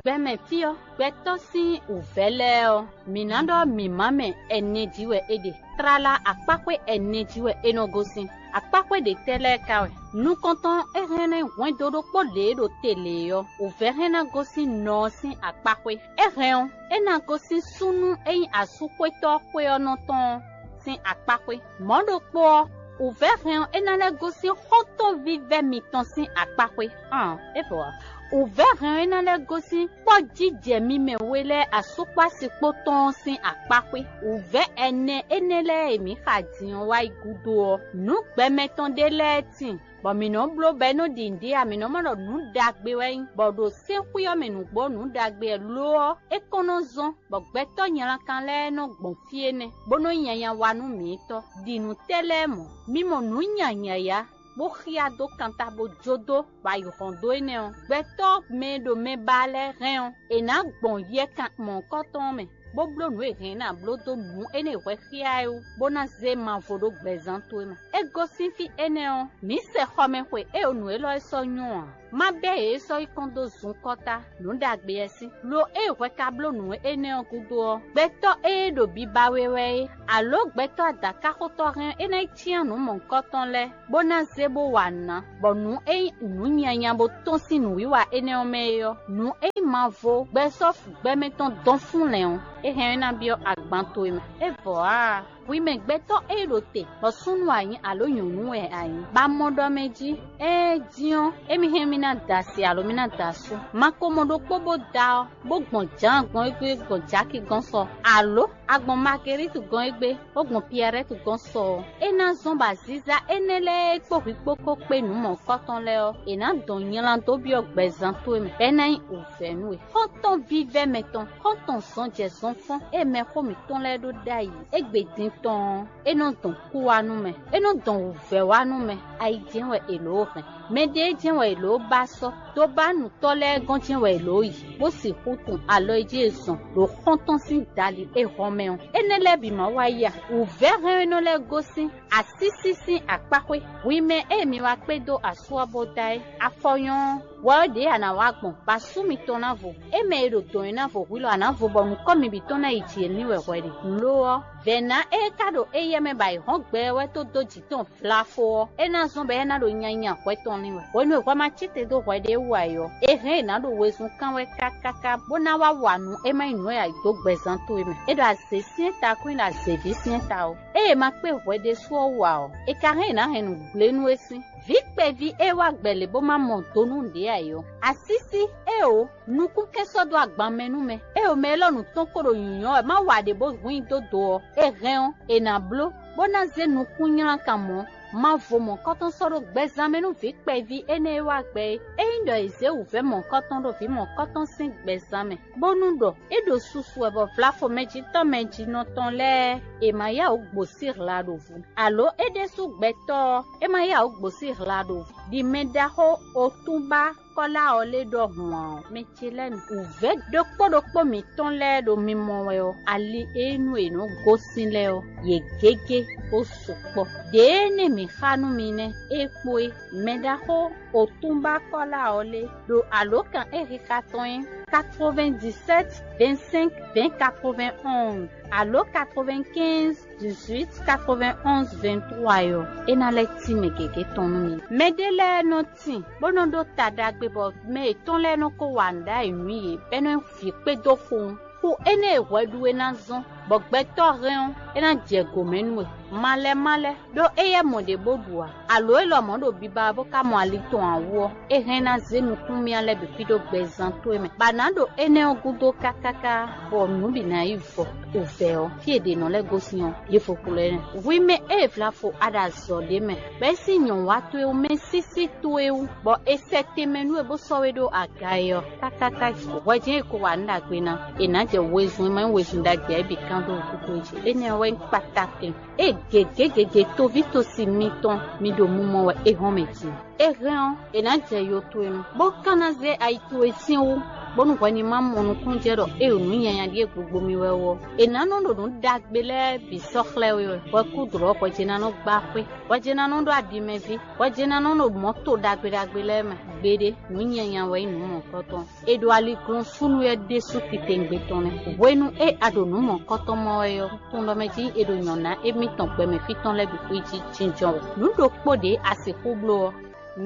Gbɛmɛ fí ɔ́, gbɛtɔ́ sín wǔvɛ́ lɛ́ɛ ɔ́, mǐ ná ɖɔ mǐmá mɛ ɛnɛ jí wɛ é ɖe. Tlala akpáxwé ɛnɛ jí wɛ é nɔ gosín. Akpáxwé ɖě tɛ́ lɛ́ɛ ka wɛ? Nukɔntɔn e hɛn ná nyí hwɛndo ɖokpó lě e ɖo te lě é ɔ́, wǔvɛ́ hɛn ná gosín nɔ ɔ́ sín akpáxwé. É hɛn ɔ́, é ná gosín súnnu e nyí asúxwétɔ́ xwé ɔ́ nɔ tɔn ɔ́ sín akpáxwé. Mɔ̌ ɖokpó ɔ́, wǔvɛ́ hɛn ɔ́, é ná lɛ́ gosín xɔ́ntɔn vívɛ́ mitɔn sín akpáxwé. Ɔn, é vɔ ǎ. Wǔvɛ́ hɛn ɔ́, é ná lɛ́ gosín kpɔ́ jijɛ mi mɛ we lɛ́ɛ asúkpásikpó tɔn ɔ́ sín akpáxwé. Wǔvɛ́ ɛnɛ énɛ́ lɛ́ɛ e mǐ xa din ɔ́ wá yi gúdo ɔ́, nǔ gbɛmɛ tɔn ɖé lɛ́ɛ tíin, bɔ mǐ nɔ́ bló bɔ é nɔ́ ɖi nǔɖé ǎ; mǐ nɔ́ mɔ ɖɔ nǔ ɖagbe wɛ é nyí, bɔ ɖo sɛ́nxwí ɔ́ mɛ nǔgbó nǔ ɖagbe wɛ lo ɔ́, é kɔn nɔ zɔ́n, bɔ gbɛtɔ́ nylankan lɛ́ɛ nɔ gbɔn fí énɛ́, bó nɔ́ nyanya wa nú mǐtɔn, ɖi nǔ tɛ́ lɛ́ɛ mɔ̌. Mi mɔ nǔ nya yǎyá, bó xyá dó kanta bó jó dó, bɔ ayǐ hɔn dó énɛ́ ɔ́, gbɛtɔ́ mɛ e ɖo mɛ ba lɛ́ɛ hɛn ɔ́, è nǎ gbɔn yɛkan mɔ̌hunkɔtɔn ɔ́ mɛ, bó bló nǔ e hɛn ná bló dó nǔ énɛ́ e hwɛ xyá é wú, bó ná zé mavɔ ɖó gbɛzán towe mɛ. É gosín fí énɛ́ ɔ́, mǐ sɛ xɔmɛxwe e ɖo nǔ élɔ́ e sɔ́ nyɔ́ ǎ. Má bɛ́ yě sɔ́ yi kɔn dó zunkɔ́ta nǔ ɖagbe ɛ sín. Lo ée hwɛ ka bló nǔ énɛ́ ɔ́ gúdo ɔ́, gbɛtɔ́ e ɖo biba we wɛ é, alǒ gbɛtɔ́ adǎkáxotɔ́ hɛn é ná yi cyán nǔ mɔ̌hunkɔtɔn lɛ́ɛ, bó ná zé bó wa nǔ ná, bɔ nǔ e nyí nǔ nyanya bó tɔ́n sín nǔwiwa énɛ́ ɔ́ mɛ é ɔ́, nǔ e nyí mavɔ gbɛsɔ́ gbɛmɛ tɔn dɔn fúnlɛn ɔ́, é hɛn ɔ́ ná byɔ́ agban towe mɛ. É vɔ ǎ. Hwi mɛ gbɛtɔ́ e ɖo te, bɔ súnnu a nyǐ alo nyɔ̌nu wɛ a nyǐ, bɔ a mɔ ɖɔ mɛ jí, ée dín ɔ́, émí hɛn mì ná da asi alo mì ná da asú. Ma ko mɔ ɖokpó bó da ɔ́, bó gbɔn Jǎan gbɔn égbé gbɔn Jaki gɔ́n sɔ, alo a gbɔn Magelítu gɔ́n égbé, bó gbɔn Piɛrɛ́tu gɔ́n sɔ ɔ́, é ná zɔ́n bɔ aziza énɛ́ lɛ́ɛ e kpó hwi kpó ko kpé nǔ mɔ̌hunkɔtɔn lɛ́ɛ ɔ́, è nǎ dɔn nylá dó byɔ́ gbɛzán towe mɛ, bɔ é ná nyí wǔvɛ́ nú we. Xɔ́ntɔn vívɛ́ mɛtɔn, xɔ́ntɔn zɔnjɛzɔnfɔ́n e mɛxó mǐtɔn lɛ́ɛ ɖó ɖ'ayǐ égbé din tɔn ɔ́, é nɔ dɔn kú wá nú mɛ; é nɔ dɔn wǔvɛ́ wá nú mɛ; ayi jɛ́n wɛ è lǒ hɛn. Mɛɖée jɛ́n wɛ è lǒ ba sɔ́; dobánutɔ́ lɛ́ɛ gɔ́n jɛ́n wɛ è lǒ yi, bó sixú tun alɔ e jí è zɔn ɖo xɔ́ntɔn sín dali e hɔn mɛ ɔ́. Énɛ́ lɛ́ɛ bǐ ma wá yi a? Wǔvɛ́ hɛn e nɔ lɛ́ gosín asísí sín akpáxwé. Hwi mɛ e mi wá kpé dó asú ɔ́ bó da é, afɔ nyɔ́ ɔ́, hwɛ ɔ́ ɖě a nǎ wá gbɔn, bɔ asú mitɔn ná vo. É mɛ e ɖo dɔ̌n é ná vo hwilɔ a nǎ vo bɔ nǔkɔn mi bǐ tɔn ná yi jǐ ní wɛ hwɛ ɖe. Lo ɔ́, vɛ̌ ná e ka ɖo éyɛ́ mɛ bɔ ayǐ hɔ́n gbɛ ɔ́ wɛ tó dó jǐ tɔn vlafo ɔ́, é ná zɔ́n bɔ é ná ɖo nyanya hwɛ tɔn lin wɛ. Hwenu e hwɛ ma cí te dó hwɛ ɖé wú ǎ é ɔ́, è hɛn è nǎ ɖo wezun kán wɛ kákáká, bó ná wá wa nǔ e ma nyí nǔ e a yi dó gbɛzán towe mɛ. É ɖo azě syɛ́n ta kún nyí ɖo azěví syɛ́n ta ó. Ée è ma kpé hwɛ ɖésú ɔ́ wú ǎ ɔ́, è ka hɛn è nǎ hɛn nǔ gblé nú é sín. Vǐ kpɛví e wá gbɛ lě bó ma mɔ do nú ɖě ǎ é ɔ́, asísí éeǒ, nukúnkɛ́n sɔ́ dó agban mɛ nú mɛ. Éeǒ, mɛ élɔ́ nǔ tɔn ko ɖo nyǔnyɔ́ wɛ má wa ɖě bó hun nyi dó do ɔ́, è hɛn ɔ́, è nǎ bló, bó ná zé nukúnnylánkan mɔ̌. Mavɔ mɔ̌kɔtɔn sɔ́ ɖó gbɛzán mɛ nú vǐ kpɛví énɛ́ e wá gbɛ é. Ényí ɖɔ è zě wǔvɛ́ mɔ̌kɔtɔn ɖó vǐ mɔ̌kɔtɔn sín gbɛzán mɛ, bónú ɖɔ é ɖo susu wɛ bɔ vlafo mɛjitɔ́ mɛjinɔ tɔn lɛ́ɛ è ma yá wǔ gbǒ sí hla ɖo vo, alo é ɖésú gbɛtɔ́ ɔ́, é ma yá wǔ gbǒ sí hla ɖo vo, ɖi mɛ ɖaxó otúnba Kɔ́lá ɔ́ lɛ́ ɖɔhun ǎ ɔ́, mɛ ce lɛ́ɛ nu. Wǔvɛ́ ɖokpó ɖokpó mǐtɔn lɛ́ɛ ɖo mimɔ wɛ ɔ́, ali e nú è nɔ́ gosín lɛ́ɛ ɔ́, yě gégé bó sukpɔ́. Ɖě énɛ́ mǐ xa nú mi nɛ́, é kpó é. Mɛ ɖaxó otúnba Kɔ́lá ɔ́ lé ɖo alǒkan e xixa tɔn nyí quatre-vingt-dix-sept vingt-cinq vingt quatre-vingt-onze alo quatre-vingt-quinze dix-huit quatre-vingt-onze vingt-trois ɔ́, é ná lɛ́ cí mɛ gěgé tɔn nú mi. Mɛɖé lɛ́ɛ nɔ tin, bó nɔ́ ɖó ta ɖagbe, bɔ mɛ yětɔn lɛ́ɛ nɔ ko wa nǔ ɖ'ayǐ nú yě, bɔ é nɔ nyí vǐ kpédó xo. Xu énɛ́ e hwɛ ɖu é ná zɔ́n, bɔ gbɛtɔ́ hɛn ɔ́, é ná jɛ gǒ mɛ nú we. Malɛ malɛ, ɖó éyɛ́ mɔ ɖě bó ɖu ǎ, alo é lɔmɔ̌ ɖo biba wɛ bó ka mɔ ali tɔn ǎ wú ɔ́, é hɛn ná zé nukúnmya lɛ́ɛ bǐ xwídó gbɛzán towe mɛ, bɔ a nǎ ɖo énɛ́ ɔ́ gúdo kákáká, bɔ nǔ bǐ ná yi vɔ. Wǔvɛ́ ɔ́, fí e è ɖe nǔ lɛ́ɛ gosín ɔ́, yě vo kplɔ́ ɛ. Hwi mɛ e è vla fo aɖazɔ̌ ɖé mɛ, bɔ é sín nyɔ̌watɔ́ e wú mɛ sísí towe wú, bɔ è sɛ tɛnmɛ nú we bó sɔ́ we ɖó aga e ɔ́, kákáká hwɛjɛ́n e ko wa nǔ ɖagbe ná, è nǎ jɛ wezun e ma nyí wezun ɖagbe ǎ é bǐ kán dó wútu towe jí. Énɛ́ ɔ́ wɛ nyí kpatákɛn. Ée gěgé gěgé toví tosi mitɔn mi ɖo mumɔ wɛ é hɔn mɛ din. É hɛn ɔ́, è nǎ jɛ yo towe nu, bó ka ná zé ayi towe sín wú, bónú hwɛ ní ma mɔ nukúnnú jɛ ɖɔ é ɖo nǔ nyanya ɖíe gbogbo mi wɛ ó. È nǎ nɔ ɖo nǔ ɖagbe lɛ́ɛ bǐ sɔ́ xlɛ́ we wɛ. Hwɛkúdlɔ̌ hwɛjɛnánɔ gbá xwé, hwɛjɛnánɔ ɖó aɖimɛví, hwɛjɛnánɔ ɖo mɔ̌to ɖagbe ɖagbe lɛ́ɛ mɛ. Gbeɖé, nǔ nyanya wɛ nyí nǔ mɔ̌hunkɔtɔn. È ɖo aliglɔ́nsúnnu wɛ ɖésú titewungbe tɔn nɛ́. Hwenu e a ɖo nǔ mɔ̌hunkɔtɔn mɔ wɛ ɔ́, tunɖɔ mɛ jí è ɖo nyɔ̌ná émítɔn gbɛmɛ fí tɔn lɛ́ɛ bǐ xwé jí jínjɔ́n wɛ. Nǔ ɖokpó ɖě a sixú bló ɔ́,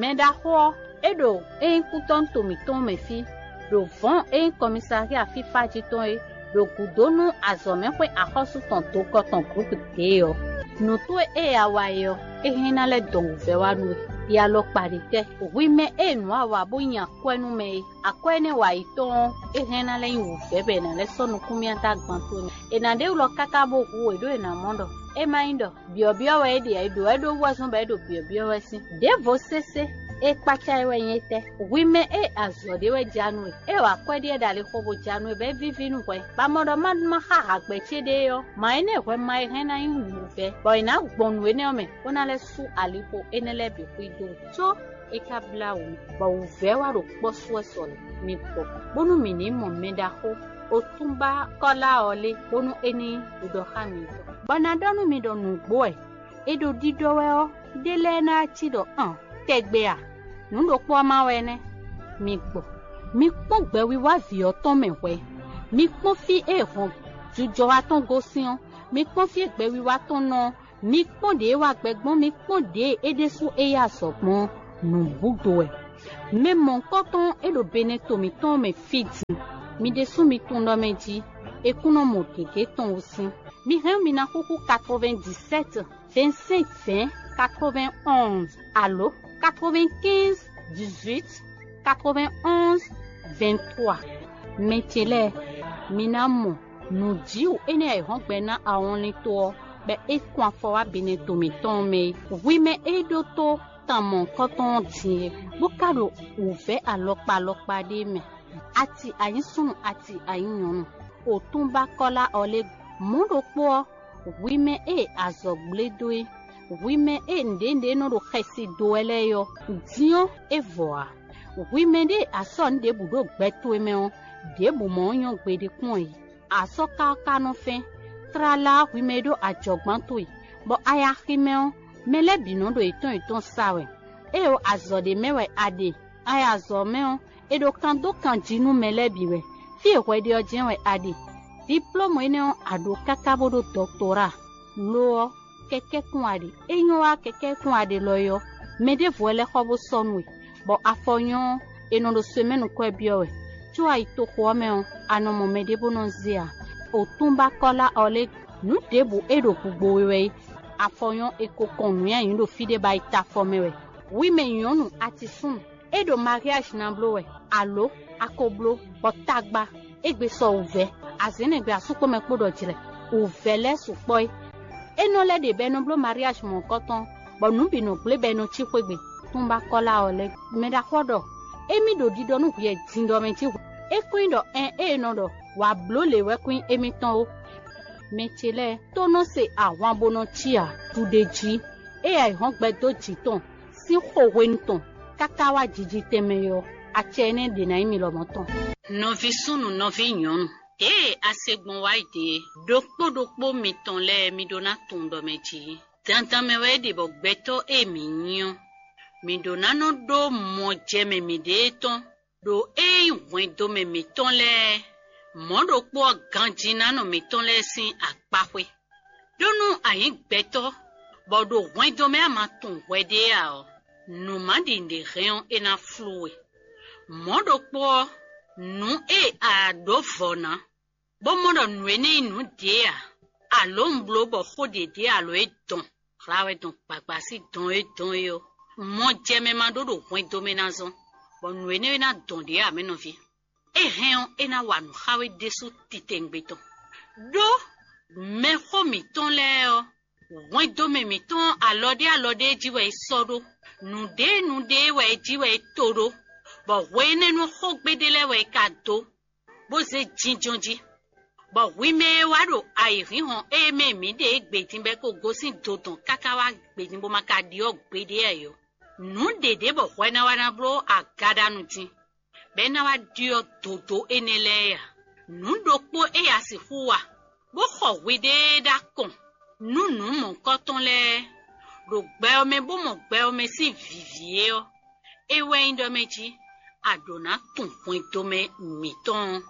mɛ ɖaxó ɔ́, é ɖo é nyí kútɔ́núto mǐtɔn mɛ fí, ɖo vɔ̌n e nyí kɔmisaxia fífá jí tɔn é, ɖo gǔdo nú azɔ̌mɛxwé axɔ́sú tɔn dokɔ tɔn Glúk ɖě ɔ́. Nǔ towe e a wa é ɔ́, é hɛn ná lɛ́ dɔn wǔvɛ́ wá nú we. Yi alɔkpa ɖě tɛ́, hwi mɛ e nǔ a wa bó nyi akwɛ́ nú mɛ é. Akwɛ́ énɛ́ wa yi tɔn ɔ́, é hɛn ná lɛ́ nyí wǔvɛ́ bɔ è nǎ lɛ́ sɔ́ nukúnmyátá gban towe mɛ. È nǎ ɖe wlɔ káká bó hu wě ɖó è nǎ mɔ ɖɔ é ma nyí ɖɔ byɔ̌byɔ́ wɛ é ɖe ǎ, è ɖǒ wɛ ɖó wú wɛ zɔ́n bɔ é ɖo byɔ̌byɔ́ wɛ sín. Ɖěvo sésé e kpácá é wɛ nyí étɛ́? Hwi mɛ e azɔ̌ ɖé wɛ ja nú we, e wa akwɛ́ ɖíe ɖo alixo bó ja nú we bɔ é víví nú hwɛ, bɔ a mɔ ɖɔ má má xá hagbɛ ce ɖé ɔ́, mǎ énɛ́ hwɛ ma e hɛn ná nyí wǔvɛ́, bɔ è nǎ gbɔn nǔ énɛ́ ɔ́ mɛ, bó ná lɛ́ sú aliho énɛ́ lɛ́ɛ bǐ xwído. Có é ka blá wǔ, bɔ wǔvɛ́ wá ɖo kpɔ́ sú wɛ sɔ lě. Mi gbɔ, bónú mǐ ní mɔ mɛ ɖaxó Otúnba Kɔ́lá ɔ́ lé, bónú é ní ɖiɖɔ xá mi tɔn. Bɔ ná ɖɔ nú mi ɖɔ nǔgbó wɛ, è ɖo ɖiɖɔ wɛ ɔ́, ɖé lɛ́ɛ ná cí ɖɔ an tɛgbɛ a? Nǔ ɖokpó ɔ́ ma wɛ nɛ́. Mi gbɔ, mi kpɔ́n gbɛwiwa vǐ ɔ́ tɔn mɛ hwɛ. Mi kpɔ́n fí e hɔn jujɔwa tɔn gosín ɔ́, mi kpɔ́n fí e gbɛwiwa tɔn nɔ ɔ́, mi kpɔ́n ɖě e wá gbɛ gbɔn, mi kpɔ́n ɖě e é ɖésú é yí azɔ̌ gbɔn ɔ́, nǔ búdo wɛ. Mɛ mɔ̌hunkɔtɔn e ɖo Benɛto mǐtɔn mɛ fí din, mi ɖésú mi tunwun ɖɔ mɛ jí è kún nɔ mɔ gěgé tɔn wú sín. Mi hɛn mi ná xúxú quatre-vingt-dix-sept vingt-cinq vingt quatre-vingt-onze alo quatre-vingt-quinze dix-huit quatre-vingt-onze vingt-trois. Mɛ ce lɛ́ɛ, mi ná mɔ nǔjíwǔ énɛ́ e ayǐhɔ́ngbe ná awɔnlin tó ɔ́, bɔ é kún afɔ wá Benɛto mǐtɔn mɛ é. Hwi mɛ e ɖótó tan mɔ̌hunkɔtɔn ɔ́ din é, bó ka ɖo wǔvɛ́ alɔkpa alɔkpa ɖé mɛ. Ati anyísúnnu, ati anyínyɔ̌nu, otúnba Kɔ́lá ɔ́ lé mɔ̌ ɖokpó ɔ́, hwi mɛ e azɔ̌ gblé dó é, hwi mɛ e nǔɖénúɖé nɔ ɖo xɛsi dó wɛ lɛ́ɛ é ɔ́, din ɔ́, é vɔ ǎ. Hwi mɛ ɖé e a sɔ́ nǔ ɖěbǔ ɖó gbɛ towe mɛ ɔ́, ɖěbǔ mɔ̌ nyɔ́ gbeɖé kpɔ́n ǎ. A sɔ́ káká nɔ fɛ́n, tlala hwi mɛ e ɖó ajɔ̌gbán towe, bɔ a yi axi mɛ ɔ́, mɛ lɛ́ɛ bǐ nɔ ɖo yětɔn yětɔn sa wɛ. Ée ɔ́, azɔ̌ ɖé mɛ wɛ a ɖe. A yi azɔ̌ mɛ ɔ́, è ɖo kan dó kan jí nú mɛ lɛ́ɛ bǐ wɛ. Fí e hwɛ ɖe ɔ́ jɛ́n wɛ a ɖe. Diplómu énɛ́ ɔ́, a ɖǒ káká bó ɖó dɔktoráa. Lo ɔ́, kɛkɛ́kún a ɖe. É nyɔ́ wá kɛkɛ́kún a ɖe lɔ é ɔ́, mɛ ɖěvo wɛ lɛ́ xɔ bó sɔ́ nú we, bɔ afɔ nyɔ́ ɔ́, è nɔ ɖo semɛ́nu kwɛ́ byɔ́ wɛ, có a yi toxo ɔ́ mɛ ɔ́, a nɔ mɔ mɛɖé bó nɔ́ zé ǎ. Otúnba Kɔ́lá ɔ́ lé, nǔ ɖěbǔ e ɖo gugbo we wɛ é, afɔ nyɔ́ è ko kɔn nǔnywɛ́ nyǐ ɖo fí ɖé bɔ a yi ta afɔ mɛ wɛ. Hwi mɛ nyɔ̌nu atisúnnu, é ɖo mariáji ná bló wɛ, alo a ko bló, bɔ tagba égbé sɔ wǔvɛ́, azǐn nɛgbɛ asú kpó mɛ kpó ɖɔ jlɛ̌, wǔvɛ́ lɛ́ɛ sukpɔ́ é. É nɔ lɛ́ ɖe bɔ è nɔ bló mariáji mɔ̌hunkɔtɔn, bɔ nǔ bǐ nɔ gblé bɔ è nɔ cí xwé gbe. Túnba Kɔ́lá ɔ́ lɛ́ɛ, mɛ ɖaxó ɔ́ ɖɔ émí ɖo ɖiɖɔ nú hwɛ din ɖɔ mɛ jí hwɛ. É kún nyí ɖɔ ɛn ée è nɔ ɖɔ wǎ bló lě wɛ kún nyí émítɔn ó. Mɛ ce lɛ́ɛ tó nɔ se ahwan bó nɔ cí ǎ, ɖuɖéjí, ée ayǐhɔ́ngbe dó jǐ tɔn sín xo hwenu tɔn káká wá jiji tɛnmɛ ɔ́, acɛ énɛ́ ɖě ná nyí mi lɔmɔ̌ tɔn. Nɔví súnnu, nɔví nyɔ̌nu, ée a se gbɔn wá yi ɖe é, ɖokpó ɖokpó mitɔn lɛ́ɛ mi ɖó ná tunwun ɖɔ mɛ jí. Dandan mɛ wɛ é ɖe bɔ gbɛtɔ́ e mǐ nyí ɔ́, mǐ ɖó ná nɔ ɖó mɔjɛmɛ mǐɖée tɔn, Ɖo ée nyí hwɛndomɛ mǐtɔn lɛ́ɛ, mɔ̌ ɖokpó ɔ́ ganjínánɔ mǐtɔn lɛ́ɛ sín akpáxwé. Ɖó nú a nyǐ gbɛtɔ́, bɔ ɖo hwɛndomɛ a ma tunwun hwɛ ɖé ǎ ɔ́, nǔ ma ɖi nǔɖé hɛn ɔ́, é ná flú we. Mɔ̌ ɖokpó ɔ́, nǔ e a ɖǒ vɔ̌ ná, bó mɔ ɖɔ nǔ énɛ́ nyí nǔ ɖě ǎ, alǒ un bló bɔ xó ɖě ɖě alǒ é dɔn hla wɛ dɔn gbagba sín dɔn e dɔn é ɔ́, mɔ jɛ mɛ ma ɖó ɖo hwɛndo mɛ ná zɔ́n, bɔ nǔ énɛ́ e ná dɔn ɖě ǎ mɛ nɔví. É hɛn ɔ́, é ná wa nǔ xá we ɖésú titewungbe tɔn. Ɖó mɛxó mǐtɔn lɛ́ɛ ɔ́, hwɛndo mɛ mǐtɔn ɔ́, alɔ ɖé alɔ ɖé jí wɛ é sɔ́ ɖó, nǔɖé nǔɖé wɛ é jí wɛ é to ɖó, bɔ hwe énɛ́ nú xógbe ɖé lɛ́ɛ wɛ é ka dó, bó zé jínjɔ́n jí, bɔ hwi mɛ e wá ɖo ayǐhínhɔ́n e mɛ mǐ ɖe é gbe din bɔ é ko gosín dodɔn káká wá gbe din bó ma ka ɖyɔ́ gbeɖé ǎ é ɔ́, nǔ ɖě ɖě bɔ hwɛ ná wá ná bló agaɖanu din, bɔ é ná wá ɖyɔ́ dodó énɛ́ lɛ́ɛ ǎ. Nǔ ɖokpó e a sixú wa, bó xɔ hwiɖée ɖó akɔn nú nǔ mɔ̌hunkɔtɔn lɛ́ɛ, ɖo gbɛ ɔ́ mɛ bó mɔ gbɛ ɔ́ mɛ sín vǐví é ɔ́, é wɛ nyí ɖɔ mɛ jí a ɖǒ ná tunwun hwɛndomɛ mǐtɔn ɔ́.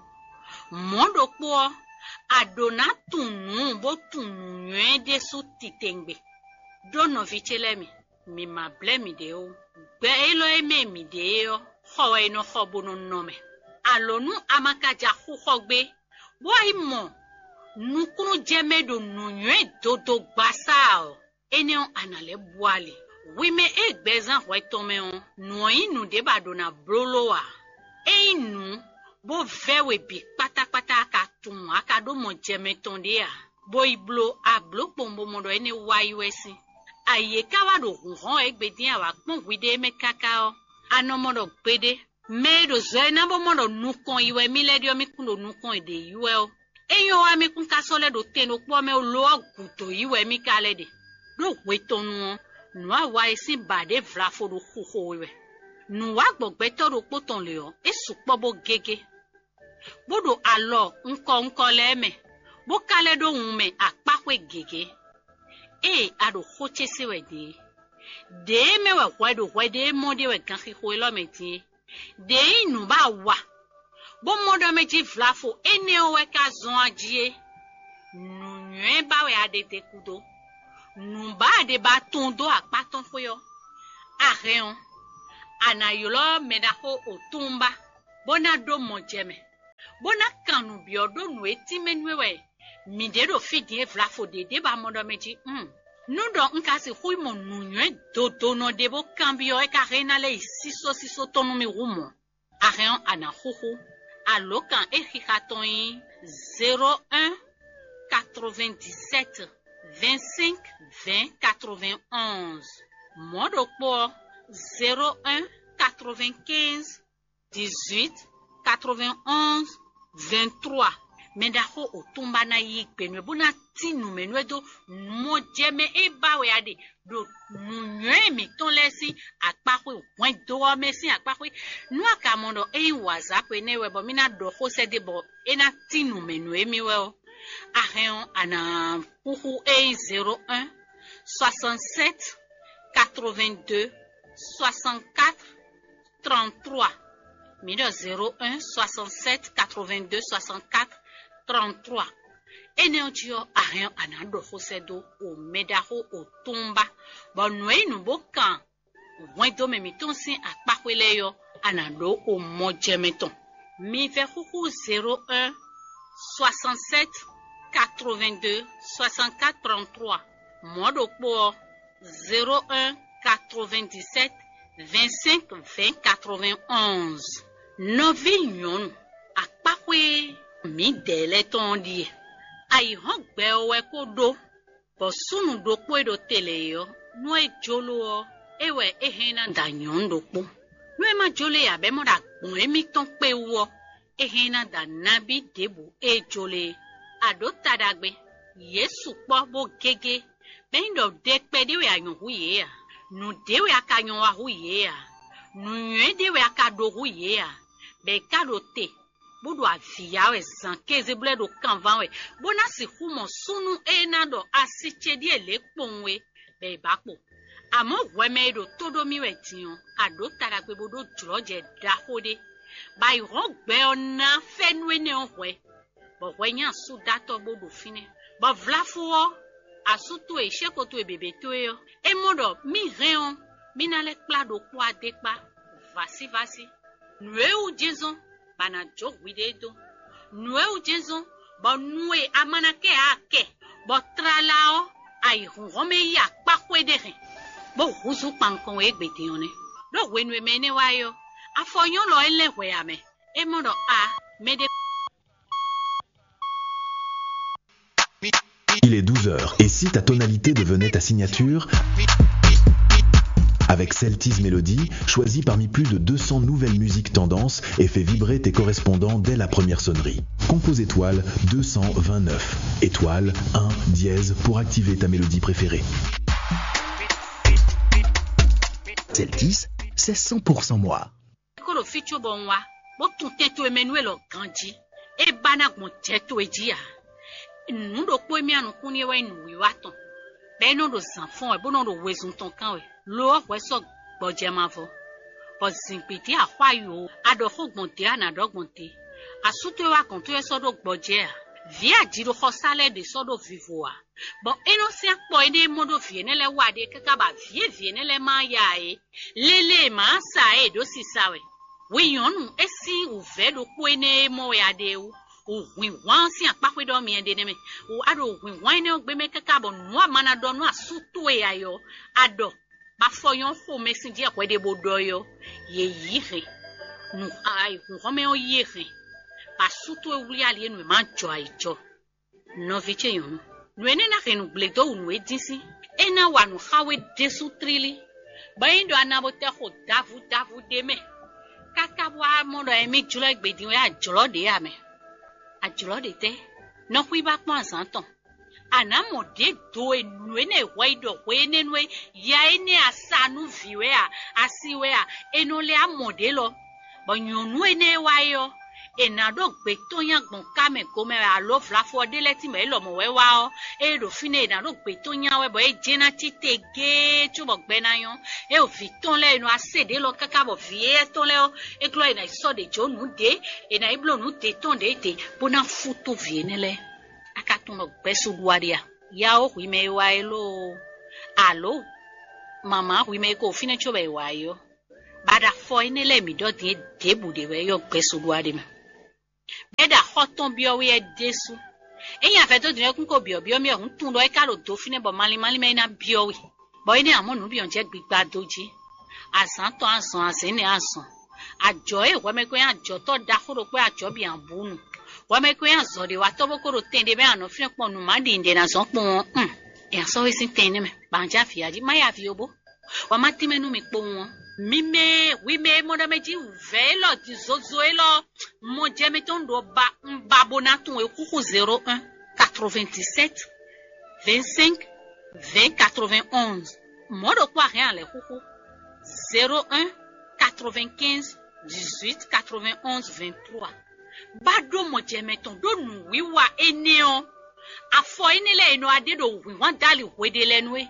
Mɔ̌ ɖokpó ɔ́, a ɖǒ ná tunwun nǔ bó tunwun nǔnywɛ́ ɖésú titewungbe. Ɖó nɔví ce lɛ́ɛ mi, mi ma blɛ́ miɖée ó. Gbɛ élɔ́ e mɛ mǐ ɖe é ɔ́, xɔ wɛ è nɔ xɔ bó nɔ nɔ mɛ. Alǒ nú a ma ka ja xú xɔ gbé, bó wá yi mɔ nukúnnú jɛ mɛ ɖo nǔnywɛ́ dodo gbasá ɔ́, énɛ́ ɔ́, a nǎ lɛ́ bú ali. Hwi mɛ e gbɛzán hwɛ tɔn mɛ ɔ́, nǔ ɔ́ nyí nǔɖé bɔ a ɖǒ ná bló ló ǎ. É nyí nǔ bó vɛ́ we bǐ kpátákpátá a ka tunwun a ka ɖó mɔ jɛ mɛ tɔn ɖé ǎ, bó yi bló a blǒ kpowun bó mɔ ɖɔ énɛ́ wá yi wɛ sín. Ayǐ e ka wá ɖo hǔnhɔ́n wɛ égbé dín a wǎ kpɔ́n hwiɖée mɛ káká ɔ́, a nɔ mɔ ɖɔ gbeɖé mɛ e ɖo zɔ e ná bó mɔ ɖɔ nukɔn yi wɛ mì lɛ́ ɖe ɔ́, mì kún ɖo nukɔn e ɖě yi wɛ ɔ́, é nyɔ́ wá mì kún ka sɔ́ lɛ́ ɖo tɛn ɖokpó ɔ́ mɛ ó, lo ɔ́ gǔdo yi wɛ mì ka lɛ́ ɖe. Ɖó hwe tɔn nu ɔ́, nǔ awa e sín ba ɖě vlafo ɖo xuxo we wɛ. Nǔ wá gbɔ gbɛtɔ́ ɖokpó tɔn lě ɔ́, é sukpɔ́ bó gégé, bó ɖo alɔ ŋkɔ ŋkɔ lɛ́ɛ mɛ, bó ka lɛ́ ɖó wun mɛ akpáxwé gěgé. Ée a ɖo xó ce se wɛ dě é, ɖěe mɛ wɛ hwɛ ɖo hwɛ ɖé mɔ ɖé wɛ ganxixo élɔ́ mɛ din é. Ɖě nyí nǔ ba wa, bó mɔ ɖɔ mɛ jí vlafo énɛ́ ɔ́ wɛ ka zɔ́n a jí é. Nǔnywɛ́ ba wɛ a ɖe te kúdó. Nǔ ba a ɖe ba tun dó akpá tɔn xwé ɔ́, a hɛn ɔ́, a nǎ ylɔ́ mɛ ɖaxó otúnba, bó ná ɖó mɔ jɛ mɛ, bó ná kan nǔ byɔ́ ɖó nǔ e tínmɛ nú we wɛ mǐ ɖě ɖo fí din e vlafo ɖě ɖě ba mɔ ɖɔ mɛ jí. Hmm. Nú ɖɔ un ka sixú yi mɔ nǔnywɛ́ dodonɔ ɖé bó kanbyɔ́ é ka hɛn ná lɛ́ yi sísɔ́sísɔ́ tɔn nú mì hú mɔ̌. A hɛn ɔ́, a nǎ xúxú. Alǒkan e xixa tɔn nyí zéro un quatre-vingt-dix-sept vingt-cinq vingt quatre-vingt-onze. Mɔ̌ ɖokpó ɔ́, zéro un quatre-vingt-quinze dix-huit quatre-vingt-onze vingt-trois. Mɛ ɖaxó otúnba ná yí gbe nú ɛ bó ná tín nǔ mɛ nú ɛ dó mɔjɛmɛ e ba wɛ a ɖe ɖo nǔnywɛ́ mǐtɔn lɛ́ɛ sín akpáxwé hwɛndo ɔ́ mɛ sín akpáxwé. Nú a ka mɔ ɖɔ é nyí wǎzáxwe nɛ́ wɛ bɔ mì ná ɖɔ xó sɛ́ dó bɔ é ná tín nǔ mɛ nú émí wɛ ɔ́, a hɛn ɔ́, a nǎ xúxú é nyí zéro un soixante-sept quatre-vingt-deux soixante-quatre trente-trois. Mǐ ɖɔ zéro un soixante-sept quatre-vingt-deux soixante-quatre trente-trois. Énɛ́ ɔ́ jí ɔ́, a hɛn ɔ́, a nǎ ɖɔ xó sɛ́ dó o mɛ ɖaxó o túnba, bɔ nǔ e nyí nǔ bó kan hwɛndo mɛ mǐtɔn sín akpáxwé lɛ́ɛ ɔ́, a nǎ ɖó o mɔ jɛ mɛ tɔn. Mi vɛ́ xúxú zéro un soixante-sept quatre-vingt-deux soixante-quatre trente-trois. Mɔ̌ ɖokpó ɔ́, zéro un quatre-vingt-dix-sept vingt-cinq vingt quatre-vingt-onze. Nɔví nyɔ̌nu, akpáxwé mǐdɛɛ lɛ́ɛ tɔn ɔ́ ɖíe. Ayǐhɔ́ngbe ɔ́ wɛ kó ɖó, bɔ súnnu ɖokpó e ɖo te lɛ́ɛ é ɔ́, nú é jló ɔ́, é wɛ é hɛn ná da nyɔ̌nu ɖokpó. Nú é ma jló ǎ bɔ é mɔ ɖɔ agbɔ̌n émítɔn kpé wú ɔ́, é hɛn ná da nabí ɖěbǔ e jló é. A ɖǒ ta ɖagbe, yě sukpɔ́ bó gégé, bɔ é nyí ɖɔ ɖe kpɛɖé wɛ a nyɔ̌ hú yě ǎ, nǔɖé wɛ a ka nyɔ́ wa hú yě ǎ, nǔnywɛ́ ɖé wɛ a ka ɖó hú yě ǎ, bɔ è ka ɖo te, bó ɖo avǐ ya wɛ zǎn kéze bó lɛ́ ɖo kanván wɛ, bó ná sixú mɔ súnnu e ná ɖɔ asi ce ɖíe lě kpowun é, bɔ è bǎ kpo. Amɔ̌ hwɛ mɛ e ɖo tó ɖó mì wɛ din ɔ́, a ɖǒ ta ɖagbe bó ɖó jlɔ̌jɛ ɖaxó ɖé. Bɔ ayǐhɔ́ngbe ɔ́ ná fɛ́nú énɛ́ ɔ́ hwɛ, bɔ hwɛ nyí asúdatɔ́ bó ɖo fínɛ́. Bɔ vlafú ɔ́, asú towe, sɛ́xo towe běbé towe ɔ́, é mɔ ɖɔ mì hɛn ɔ́, mì ná lɛ́ kplá ɖokpó adé kpá vásívásí. Nǔ e wú jɛ́n zɔ́n bɔ a nǎ jó hwiɖée dó. Nǔ e wú jɛ́n zɔ́n bɔ nu e a ma ná kɛ ǎ kɛ, bɔ tlala ɔ́, ayǐhɔ́ngɔ́n mɛ yí akpá xwé ɖé hɛn, bó húzú kpankɔn e égbé din ɔ́ nɛ́. Ɖó hwenu e mɛ énɛ́ wá é ɔ́, afɔ nyɔ́lɔ ɔ́ é lɛ́ hwɛ ǎ mɛ. É mɔ ɖɔ a mɛɖé. Il est douze heures. Et si ta tonalité devenait ta signature ? Avec Celtis Melody, choisis parmi plus de deux cents nouvelles musiques tendances et fais vibrer tes correspondants dès la première sonnerie. Compose étoile deux cent vingt-neuf, étoile un dièse pour activer ta mélodie préférée. Celtis, c'est cent pour cent moi. Kó ɖo fí cóbɔ un wá, bó tun tɛn towe mɛ nú élɔ́ ganjí. É ba ná gbɔn jɛ towe jí ǎ. Nǔ ɖokpó e mì anukún n'i é wɛ nyí nǔwiwa tɔn, bɔ é nɔ ɖo zǎn fɔ́n wɛ, bó nɔ ɖo wezun tɔn kán wɛ. Lo ɔ́, hwɛ sɔ́ gbɔjɛ mavɔ, bɔ zǐngbídí axwá yo, a ɖɔ xó gbɔn dě, a nǎ ɖɔ gbɔn dě. Asú towe wá gɔ̌n towe sɔ́ ɖó gbɔjɛ ǎ. Vǐ ajiɖoxɔsá lɛ́ɛ ɖě sɔ́ ɖó vivo ǎ, bɔ é nɔ sín akpɔ énɛ́ e mɔ ɖó vǐ énɛ́ lɛ́ɛ wa ɖe káká bɔ avǐ e vǐ énɛ́ lɛ́ɛ ma yá ǎ é, lélé e mǎ sa ɛ e ɖǒ sisa wɛ. Hwi nyɔ̌nu, é sín wǔvɛ́ ɖokpó énɛ́ e mɔ wɛ a ɖe é wú. Wǔhwǐnhwan ɔ́ sín akpáxwé ɖɔ myɛ ɖe nɛ́ mɛ. Wǔ a ɖo wǔhwǐnhwan énɛ́ ɔ́ gbé mɛ káká bɔ nǔ a ma ná ɖɔ nú asú towe ǎ é ɔ́, a ɖɔ bɔ afɔ nyɔ́ xomɛ sín jí hwɛɖěbodɔ é ɔ́, yě yí hɛn. Nǔ ayǐhúnhɔ́n mɛ ɔ́ yí e hɛn, bɔ asú towe wlí ali e nǔ e ma jɔ ayǐ jɔ. Nɔví ce nyɔ̌nu, nǔ énɛ́ ná hɛn nǔgblé dó wǔ nú we dín sín. É ná wa nǔ xá we ɖésú tlílí, bɔ é nyí ɖɔ a na bo tɛ xo davu davu ɖé mɛ, káká bó wá mɔ ɖɔ émí jlɔ́ égbé din wɛ ajlɔ́ ɖě ǎ mɛ. Ajlɔ́ ɖě tɛ́? Nɔ xwíbá kpɔ́n azǎn tɔn. A nǎ mɔ ɖě do e nǔ énɛ́ e hwɛ yi ɖɔ hwe énɛ́ nú é, ya énɛ́ a sa nú vǐ wɛ a, a si wɛ a, è nɔ lɛ́ a mɔ ɖě lɔ. Bɔ nyɔ̌nu énɛ́ e wá é ɔ́, è nǎ ɖó gbě tɔn nyi agbɔ̌n ká mɛ gomɛ wɛ alo vlafɔ ɔ́ ɖé lɛ́ɛ tínmɛ é lɔmɔ̌ wɛ wá ɔ́, ée ɖo fínɛ́ è nǎ ɖó gbě tɔn nya wɛ bɔ é jɛ́n ná cí te géé cóbɔ gbɛ ná nyɔ́. É ɖo vǐ tɔn lɛ́ɛ e nɔ wá se ɖě lɔ káká bɔ vǐ éyɛ́ tɔn lɛ́ɛ ɔ́, é glɔ́ è nǎ yi sɔ́ ɖě jó nǔ ɖě, è nǎ yi bló nǔ ɖě tɔn ɖě ɖě bó ná fútú vǐ énɛ́ lɛ́ɛ. A ka tunwun ɖɔ gbɛ́sú ɖu a ɖe a? Ya ó hwi mɛ e wá é lóo, alo mama hwi mɛ e ko fínɛ́ cóbɔ è wǎ é ɔ́, bɔ a ɖo afɔ énɛ́ lɛ́ɛ mǐ ɖɔ din é ɖěbǔ ɖe wɛ é ɔ́ gbɛ́sú ɖu a ɖe mɛ. Bɔ é ɖo axɔ́ tɔn byɔ́ wɛ é ɖésú. Ényí a vɛdó din ɔ́ kún ko byɔ̌byɔ́ mì ɔ́, hǔn tunwun ɖɔ é ka ɖo do fínɛ́ bɔ malín malín mɛ é ná byɔ́ we, bɔ énɛ́ ǎ mɔ nǔ bǐ ɔ́ jɛ gbigba dó jí. Azǎn tɔn azɔn azɛ̌n nɛ́ azɔn. Ajɔ̌ e hwɛmɛkɔn nyí ajɔ̌tɔ́ ɖaxó ɖokpó e ajɔ̌ bǐ ǎ bú nu. Hwɛmɛkɔn nyí azɔ̌ɖewatɔ́ bó ko ɖo tɛn ɖé mɛ anɔ fínɛ́ kpɔ́n nǔ má ɖi nǔɖé ná zɔ́n kpɔ́n ɔ́, un, è nǎ sɔ́ we sín tɛn énɛ́ mɛ, bɔ a nǎ jɛ avǐ ya jí, má ya avǐ ó bó. Wǎ má tínmɛ nú mi kpowun ɔ́. Mi mɛ e hwi mɛ e mɔ ɖɔ mɛ jí wǔvɛ́ élɔ́ din zozo élɔ́ mɔ jɛ mitɔn ɖo ba un ba bó ná tunwun e xúxú zéro un quatre-vingt-dix-sept vingt-cinq vingt quatre-vingt-onze. Mɔ̌ ɖokpó a hɛn a lɛ̌ xúxú zéro un quatre-vingt-quinze dix-huit quatre-vingt-onze vingt-trois. Bá ɖó mɔjɛmɛ tɔn ɖó nǔwiwa énɛ́ ɔ́, afɔ énɛ́ lɛ́ɛ e nɔ wá ɖe ɖo wǐnhwan dali hweɖé lɛ́ɛ nú é.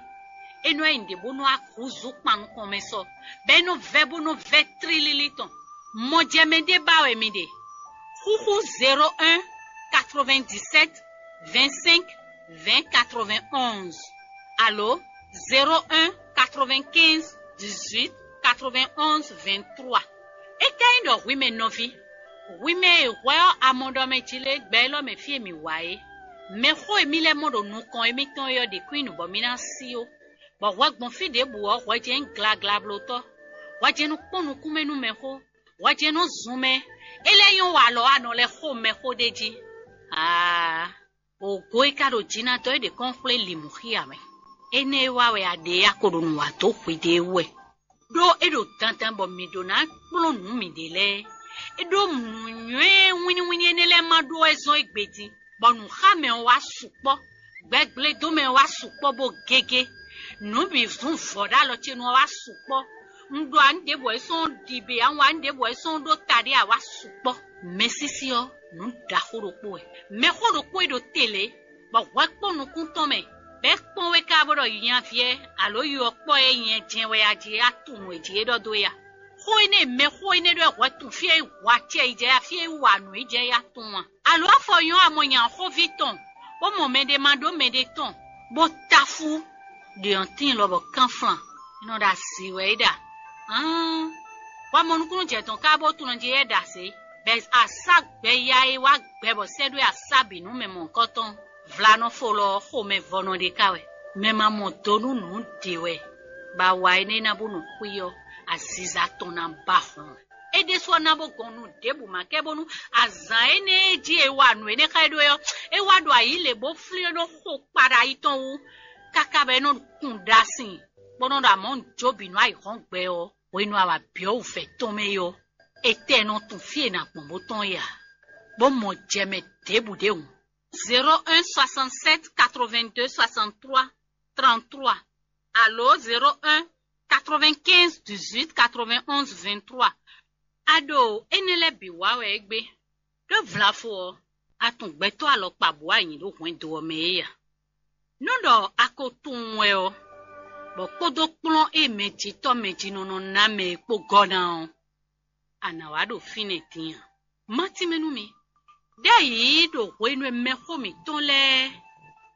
É nɔ wá nyí nǔɖé bó nɔ wá húzú kpan nukɔn mɛ sɔ, bɔ é nɔ vɛ́ bó nɔ vɛ́ tlílílí tɔn. Mɔjɛmɛ ɖé ba wɛ mi ɖe. Xúxú zéro un quatre-vingt-dix-sept vingt-cinq vingt quatre-vingt-onze alo zéro un quatre-vingt-quinze dix-huit quatre-vingt-onze vingt-trois. É ka nyí ɖɔ hwi mɛ nɔví, hwi mɛ e hwɛ ɔ́ a mɔ ɖɔ mɛ jí lé gbɛ élɔ́ mɛ fí e mǐ wá é, mɛxó e mì lɛ́ mɔ ɖo nukɔn émítɔn é ɔ́ ɖě kún nyí nǔ bɔ mì ná sí ó. Bɔ hwɛ gbɔn fí ɖěbǔ ɔ́, hwɛ jɛ́n nyí glaglablótɔ́, hwɛ jɛ́n nɔ kpɔ́n nukúnmɛ nú mɛxó, hwɛ jɛ́n nɔ zun mɛ, é lɛ́ nyɔ́ wa alɔ anɔ lɛ́ xo mɛxó ɖ'é jí. Aa! Ògo e ka ɖo jǐ ná dɔ́ é ɖě kɔn xwlé lǐmúxí ǎ mɛ. Énɛ́ e wa wɛ a ɖe a ko ɖo nǔ wa dó hwiɖée wú wɛ, ɖó é ɖo dandan bɔ mǐ ɖó ná kplɔ́n nǔ mǐɖée lɛ́ɛ. É ɖó nǔnywɛ́ wínníwínní énɛ́ lɛ́ɛ ma ɖó wɛ zɔ́n égbé din, bɔ nǔxámɛ ɔ́ wá sukpɔ́, gbɛgblédómɛ ɔ́ wá sukpɔ́ bó gégé. Nǔ bǐ zún vɔ̌ ɖó alɔ ce nu ɔ́ wá sukpɔ́. Un ɖo ǎ nǔ ɖěbǔ wɛ é sɔ́n ɖi bě, a wǎ nǔ ɖěbǔ wɛ é sɔ́n ɖó ta ɖé ǎ wá sukpɔ́. Mɛsísí ɔ́, nǔ ɖaxó ɖokpó wɛ. Mɛxó ɖokpó e ɖo te lě, bɔ hwɛ kpɔ́n nukún tɔn mɛ, bɔ é kpɔ́n we ká bó ɖɔ nyaví ɛ alo yɔ kpɔ́ e nyɛ jɛn wɛ a jí é, a tunwun nǔ e jí é ɖɔ dó é a? Xó énɛ́ e mɛxó énɛ́ ɖɔ wɛ hwɛ tun fí e wa acɛ yi jɛ ya, fí e wa nǔ yi jɛ ya tun a? Alo afɔ nyɔ́ a mɔ nya xóví tɔn, bó mɔ mɛɖé ma ɖó mɛɖé tɔn, bó táfú ɖe ɔ́ tíin lɔbɔ kánflan, é nɔ ɖo asi wɛ é ɖa. Hán, wá mɔ nukúnnú jɛ tɔn ká bó tunɔ jí é ɖa zě, bɔ asá gbɛ ya e wá gbɛ bɔ sɛ́ ɖó asá bǐ nú mɛ mɔ̌hunkɔtɔn. Vlanɔfo lɔ ɔ́, xomɛvɔnɔ ɖé ká wɛ. Mɛ ma mɔ do nú nǔ ɖě wɛ, bɔ awa énɛ́ ná bó nɔ xwí ɔ́, aziza tɔn ná ba hlɔn. É ɖésú ɔ́ ná bó gɔn nú ɖěbǔ ma kɛ bónú azǎn énɛ́ e jí è wa nǔ énɛ́ xá é ɖó é ɔ́, é wá ɖo ayǐ lě bó flín é ɖó xo kpaɖa yi tɔn wú, káká bɔ é nɔ kun ɖa sin, bó nɔ ɖɔ amɔ̌ un jó bǐ nú ayǐhɔ́ngbe ɔ́, hwenu e a wǎ byɔ́ wǔvɛ́ tɔn mɛ é ɔ́, étɛ́ nɔ tunwun fí e è nǎ gbɔn bó tɔ́n é ǎ, bó mɔ jɛ mɛ ɖěbǔ ɖé hǔn. Zéro un soixante-sept quatre-vingt-deux soixante-trois trente-trois alo zéro un quatre-vingt-quinze dix-huit quatre-vingt-onze vingt-trois. A ɖo énɛ́ lɛ́ɛ bǐ wa wɛ égbé. Ɖó vlafo ɔ́, a tunwun gbɛtɔ́ alɔkpa bǔ wá nyi ɖó hwɛndo ɔ́ mɛ é a? Nú ɖɔ a ko tunwun wɛ ɔ́, bɔ kpódó kplɔ́n e mɛjitɔ́ mɛjinɔ nɔ ná mɛ é kpó gɔ́ ná ɔ́, a nǎ wá ɖo fínɛ́ din a? Má tínmɛ nú mi. Ɖ'ayǐ ɖo hwenu e mɛxó mǐtɔn lɛ́ɛ,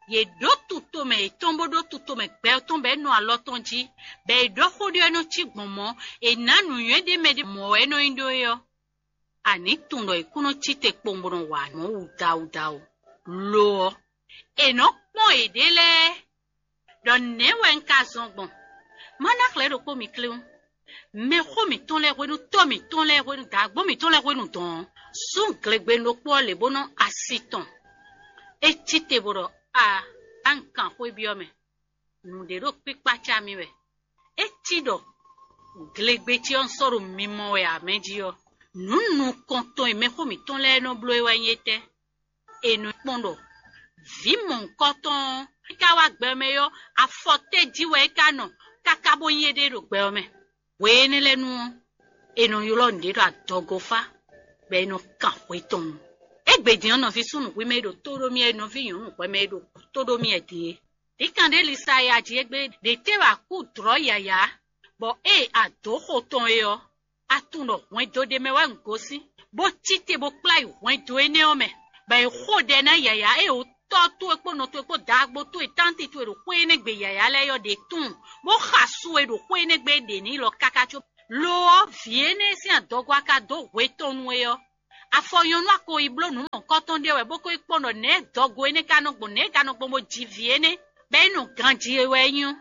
yě ɖó tutomɛ yětɔn bó ɖó tutomɛ gbɛ ɔ́ tɔn bɔ é nɔ alɔ tɔn jí, bɔ è ɖɔ xó ɖé ɔ́ nɔ cí gbɔn mɔ̌, è nǎ nǔnywɛ́ ɖé mɛ ɖé mɔ̌ wɛ é nɔ nyí ɖó é ɔ́, a nǐ tunwun ɖɔ è kún nɔ cí te kpowun bó nɔ wa nǔ wudawudawu. Lo ɔ́, è nɔ́ kpɔ́n yěɖée lɛ́ɛ, ɖɔ nɛ̌ wɛ un ka zɔn gbɔn? Má ná xlɛ̌ ɖokpó mi kléwún. Mɛxó mǐtɔn lɛ́ɛ hwenu, tɔ́ mǐtɔn lɛ́ɛ hwenu, dǎgbó mǐtɔn lɛ́ɛ hwenu dɔn ɔ́, zɔ́n glegbenu ɖokpó ɔ́ lě bó nɔ asi tɔn. É cí te bó ɖɔ: A, a un kan xwé byɔ́ mɛ. Nǔɖé ɖo kpíkpácá mì wɛ. É cí ɖɔ glegbe ce ɔ́ un sɔ́ ɖo mimɔ wɛ ǎ mɛ jí ɔ́, nǔ nukɔntɔn e mɛxó mǐtɔn lɛ́ɛ nɔ bló é wɛ nyí étɛ́? È nɔ kpɔ́n ɖɔ vǐ mɔ̌hunkɔtɔn ɔ́, é ka wá gbɛ mɛ ɔ́, afɔ tɛ́ jí wɛ é ka nɔ káká bó nyí éɖée ɖo gbɛ ɔ́ mɛ? Hwe énɛ́ lɛ́ɛ nu ɔ́, è nɔ ylɔ́ nǔɖé ɖɔ adɔgofá, bɔ è nɔ kan hwe tɔn nu. Égbé din ɔ́, nɔví súnnu hwi mɛ e ɖo tó ɖó mì wɛ, nɔví nyɔ̌nu hwɛ mɛ e ɖo tó ɖó mì wɛ din é. Vǐ kan ɖé Lisaya jí égbé ɖě tɛ́ wɛ a kú dlɔ̌ yǎyá, bɔ ée a dǒ xo tɔn é ɔ́, a tunwun ɖɔ hwɛndo ɖé mɛ wɛ un gosín, bó cí te bó kplá yi hwɛndo énɛ́ ɔ́ mɛ, bɔ è xo ɖɛ ná yǎyá e wǔ tɔ́ towe kpó nɔ towe kpó dǎgbó towe tánti towe ɖo xwé énɛ́ gbe yǎyá lɛ́ɛ ɔ́ ɖě tunwun, bó xa su e ɖo xwé énɛ́ gbe é ɖe n'i lɔ káká có. Lo ɔ́, vǐ énɛ́ e sín adɔgo a ka dó hwe tɔn nu é ɔ́, afɔ nyɔ̌nu a ko yi bló nǔ mɔ̌hunkɔtɔn ɖé wɛ bó ko yi kpɔ́n ɖɔ nɛ̌ dɔgo énɛ́ ka nɔ gbɔn, nɛ̌ é ka nɔ gbɔn bó ji vǐ énɛ́, bɔ é nɔ ganjí é wɛ é nyí ɔ́.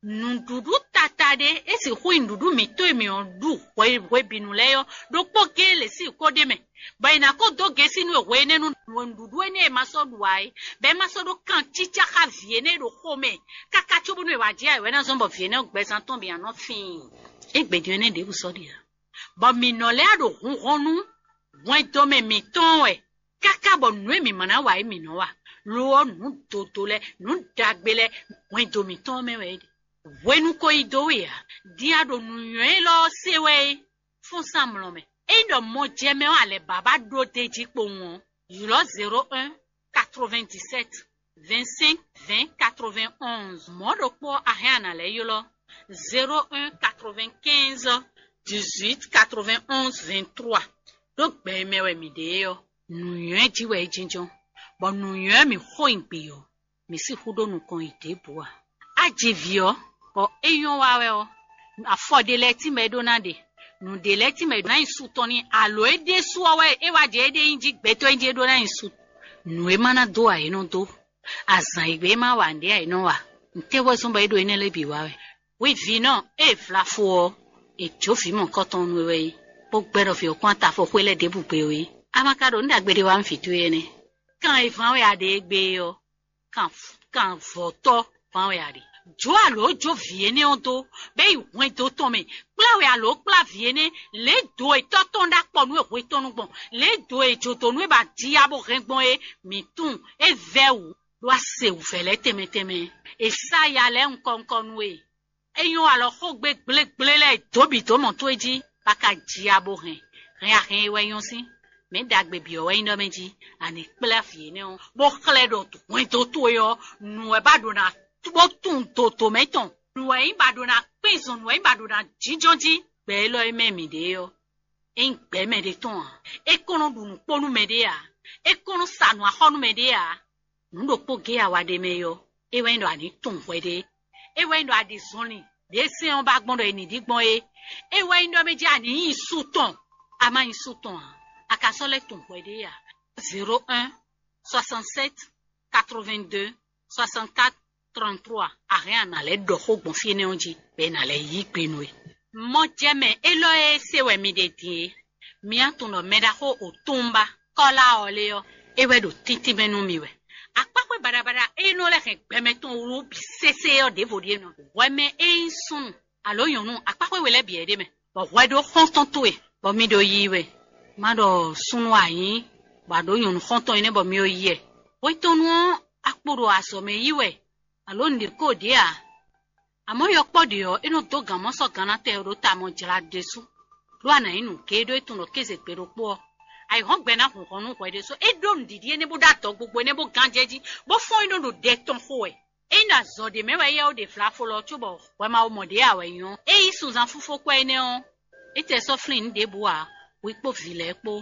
Nǔɖuɖu tata ɖé é sixú nyí nǔɖuɖu mǐtɔn e mǐ ɔ́ ɖu hwe hwebǐnu lɛ́ɛ ɔ́, ɖokpó géé lě sín kó ɖ'é mɛ, bɔ è nǎ ko dó gěsí nú hwe énɛ́ nú nǔɖuɖu énɛ́ e ma sɔ́ ɖu ǎ é, bɔ é ma sɔ́ ɖó kan cícá xá vǐ énɛ́ e ɖo xo mɛ, káká cóbónú è wǎ jɛ ayǐ wɛ ná zɔ́n bɔ vǐ énɛ́ ɔ́ gbɛzán tɔn bǐ ná nɔ fíin. Égbé din énɛ́ ɖěbǔ sɔ́ ɖe ǎ, bɔ mǐ nɔ lɛ́ ɖo hunhɔn nú hwɛndo mɛ mǐtɔn wɛ, káká bɔ nǔ e mǐ ma ná wa é mǐ nɔ wa. Lo ɔ́, nǔ dodo lɛ́ɛ, nǔ ɖagbe lɛ́ɛ, hwɛndo mǐtɔn ɔ́ mɛ wɛ é ɖe. Hwenu ko yi dó we ǎ, din a ɖo nǔnywɛ́ élɔ́ ɔ́ se wɛ é, fɔ́n sín amlɔ mɛ. Ényí ɖɔ mɔjɛmɛ ɔ́ alɛ bǎbá ɖó d'é jí kpowun ɔ́, ylɔ́ zéro un quatre-vingt-dix-sept vingt-cinq vingt quatre-vingt-onze. Mɔ̌ ɖokpó ɔ́, a hɛn a nǎ lɛ́ ylɔ́ zéro un quatre-vingt-quinze dix-huit quatre-vingt-onze vingt-trois. Ɖó gbɛ e mɛ wɛ mǐ ɖe é ɔ́, nǔnywɛ́ jí wɛ é jínjɔ́n, bɔ nǔnywɛ́ mǐ xo nyi gbǐ ɔ́, mǐ sixú ɖó nukɔn yi ɖěbǔ ǎ. A ji vǐ ɔ́, bɔ é nyɔ́ wa wɛ ɔ́, afɔ ɖé lɛ́ɛ tínmɛ é ɖó ná ɖe, nǔɖé lɛ́ɛ tínmɛ é ɖó ná nyi su tɔn n'i, alo é ɖésú ɔ́ wɛ é wá jɛ éɖée nyi jí gbɛtɔ́ e jí é ɖó ná nyi su. Nǔ e ma ná dó ǎ é nɔ dó, azǎn e gbé é ma wa nǔɖé ǎ é nɔ wa. Nǔtɛ́ wɛ zɔ́n bɔ é ɖo énɛ́ lɛ́ɛ bǐ wa wɛ? Hwi vǐnɔ, ée è vla fó ɔ́, è jǒ vǐ mɔ̌hunkɔtɔn nú we wɛ é, bó gbɛ́ ɖɔ vǐ ɔ́ kɔn atafɔ xwé lɛ́ɛ ɖěbǔ gbe ó é. A ma ka ɖo nǔ ɖagbe ɖé wa nú vǐ towe énɛ́? Kan e ván wɛ a ɖe égbé é ɔ́, kan kan vɔ̌tɔ́ ván wɛ a ɖe. Jǒ alǒ jó vǐ énɛ́ ɔ́ dó, bɔ é yi hwɛndo tɔn mɛ, kplá wɛ alǒ kplá vǐ énɛ́, lě do e tɔ́ tɔn ɖó akpɔ nú e hwe tɔn nu gbɔn, lě do e jǒdonu e ba ji ya bó hɛn gbɔn é, mǐ tunwun é vɛ́ wǔ, ɖó a se wǔvɛ́ lɛ́ɛ tɛnmɛ tɛnmɛ. È sá ya lɛ́ɛ nukɔn nukɔn nú we. É nyɔ́ alɔ xógbe gblégblé lɛ́ɛ dǒ bǐ dó mɔ towe jí, bó ka ji ya bó hɛn. Hɛn a hɛn e wɛ nyɔ́ sín. Mɛ̌ ɖagbe bǐ ɔ́ wɛ nyí ɖɔ mɛ jí, a nǐ kplá vǐ énɛ́ ɔ́, bó xlɛ́ ɖɔ hwɛndo towe ɔ́, nǔ wɛ ba ɖo ná bó tunwun dodomɛ tɔn. Nǔ wɛ nyí ba ɖo ná kpín zɔn, nǔ wɛ nyí ba ɖo ná jínjɔ́n jí. gbɛ élɔ́ e mɛ mǐ ɖe ɔ́, é nyí gbɛ mɛɖé tɔn ǎ. É kɔn nɔ ɖu nǔ kpó nú mɛɖé ǎ. É kɔn nɔ sa nǔ axɔ́ nú mɛɖé ǎ. Nǔ ɖokpó géé a wa ɖe mɛ é ɔ́, é wɛ nyí ɖɔ a nǐ tunwun hwɛɖée. É wɛ nyí ɖɔ a ɖi zɔnlin ɖě sɛ́n ɔ́ ba gbɔn ɖɔ è nǐ ɖi gbɔn é. É wɛ nyí ɖɔ mɛ jɛ a nǐ nyi su tɔn, a ma nyi su tɔn ǎ, a ka sɔ́ lɛ́ tunwun hwɛɖée ǎ. Zéro un, soixante-sept, quatre-vingt-deux, soixante-quatre, trente-trois, a hɛn a nǎ lɛ́ ɖɔ xó gbɔn fí énɛ́ ɔ́ jí, bɔ è nǎ lɛ́ yí gbe nú we. Mɔjɛmɛ élɔ́ e se wɛ mi ɖe din é, mi á tunwun ɖɔ mɛ ɖaxó Otunba Kɔ́lá ɔ́ lé ɔ́, é wɛ ɖo tíntín mɛ nú mi wɛ. Akpáxwé baɖabaɖa e nɔ lɛ́ hɛn gbɛmɛ tɔn wlú bǐ sésé ɔ́ ɖěvo ɖíe nɔ. Hwɛ mɛ e nyí súnnu alo nyɔ̌nu akpáxwé we lɛ́ɛ bǐ wɛ ɖ'é mɛ, bɔ hwɛ ɖó xɔ́ntɔn towe, bɔ mi ɖo yiyi wɛ. Má ɖɔ súnnu a nyǐ, bɔ a ɖǒ nyɔ̌nu xɔ́ntɔn énɛ́ bɔ mi ɖo yi wɛ. Hwetɔ́nu ɔ́, a kpo ɖo azɔ̌ mɛ yí wɛ, alo nǔɖé ko ɖě ǎ. Amɔ̌, yɔkpɔ́ ɖě ɔ́, é nɔ dó gǎn mɔ sɔ́ gannatɛn ɔ́ ɖó ta mɔ jlá ɖésú, ɖó a nǎ nyí nǔgé ɖó é tunwun ɖɔ kéze gbe ɖokpó ɔ́, ayǐhɔ́ngbe ná hun hɔn nú hwɛ ɖésú. É ɖó nǔɖiɖi énɛ́ bó ɖó adɔgbogbo énɛ́ bó gán jɛ jí, bó fɔ́n é nɔ ɖo ɖɛ tɔn xo wɛ. Ényí ɖo azɔ̌ ɖé mɛ wɛ éyɛ́ ó ɖe vlafo lɔ cóbɔ hwɛ ma wo mɔ ɖě ǎ wɛ nyí ɔ́, é yí sunzan fúfó kwɛ́ énɛ́ ɔ́, é tɛ sɔ́ flín nǔ ɖěbǔ ǎ, hwi kpó vǐ lɛ́ɛ kpó,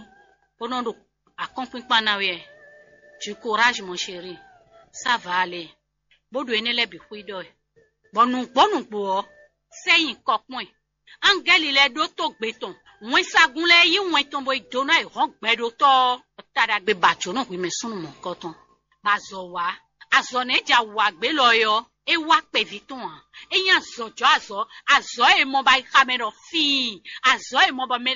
bó nɔ́ ɖo akɔ́nkpínkpán ná wɛ. Du courage, mon chéri. Ça va aller. Bó ɖo énɛ́ lɛ́ɛ bǐ xwíɖɔ ɛ. Bɔ nǔgbó nǔgbó ɔ́, sɛ́ nyi kɔ kpɔ́n ɛ. Ángɛ́li lɛ́ɛ ɖótó gbe tɔn, wɛnsagun lɛ́ɛ yí wɛn tɔn bó yi dó ná yi hɔn gbɛɖótɔ́ ɔ́, ta ɖagbe ba jǒnɔ hwi mɛ súnnu mɔ̌hunkɔtɔn. Bɔ azɔ̌ wá, azɔ̌ nɛ́ ja wǎ gbé lɔ é ɔ́, é wá kpɛví tɔn ǎ. É nyí azɔ̌jɔ́ azɔ̌, azɔ̌ e mɔ bɔ ayixa mɛ ɖɔ fíin, azɔ̌ e mɔ bɔ mɛ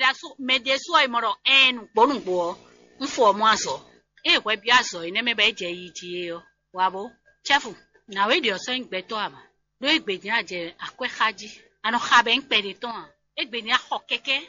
ɖésú e mɔ ɖɔ ɛɛn nǔgbó nǔgbó ɔ́, un fɔ ɔ́ mɔ azɔ̌. Ée hwɛ byɔ́ azɔ̌ énɛ́ mɛ bɔ é jɛ yi jí é ɔ́, wǎ bó, cɛ́fu, nǎwe ɖě ɔ́ sɔ́ nyí gbɛtɔ́ ǎ mɛ. Ɖó égbé din a jɛ akwɛ́ xá jí, a nɔ xa bɔ é nyí kpɛɖé tɔn ǎ. Égbé din a xɔ kɛkɛ́,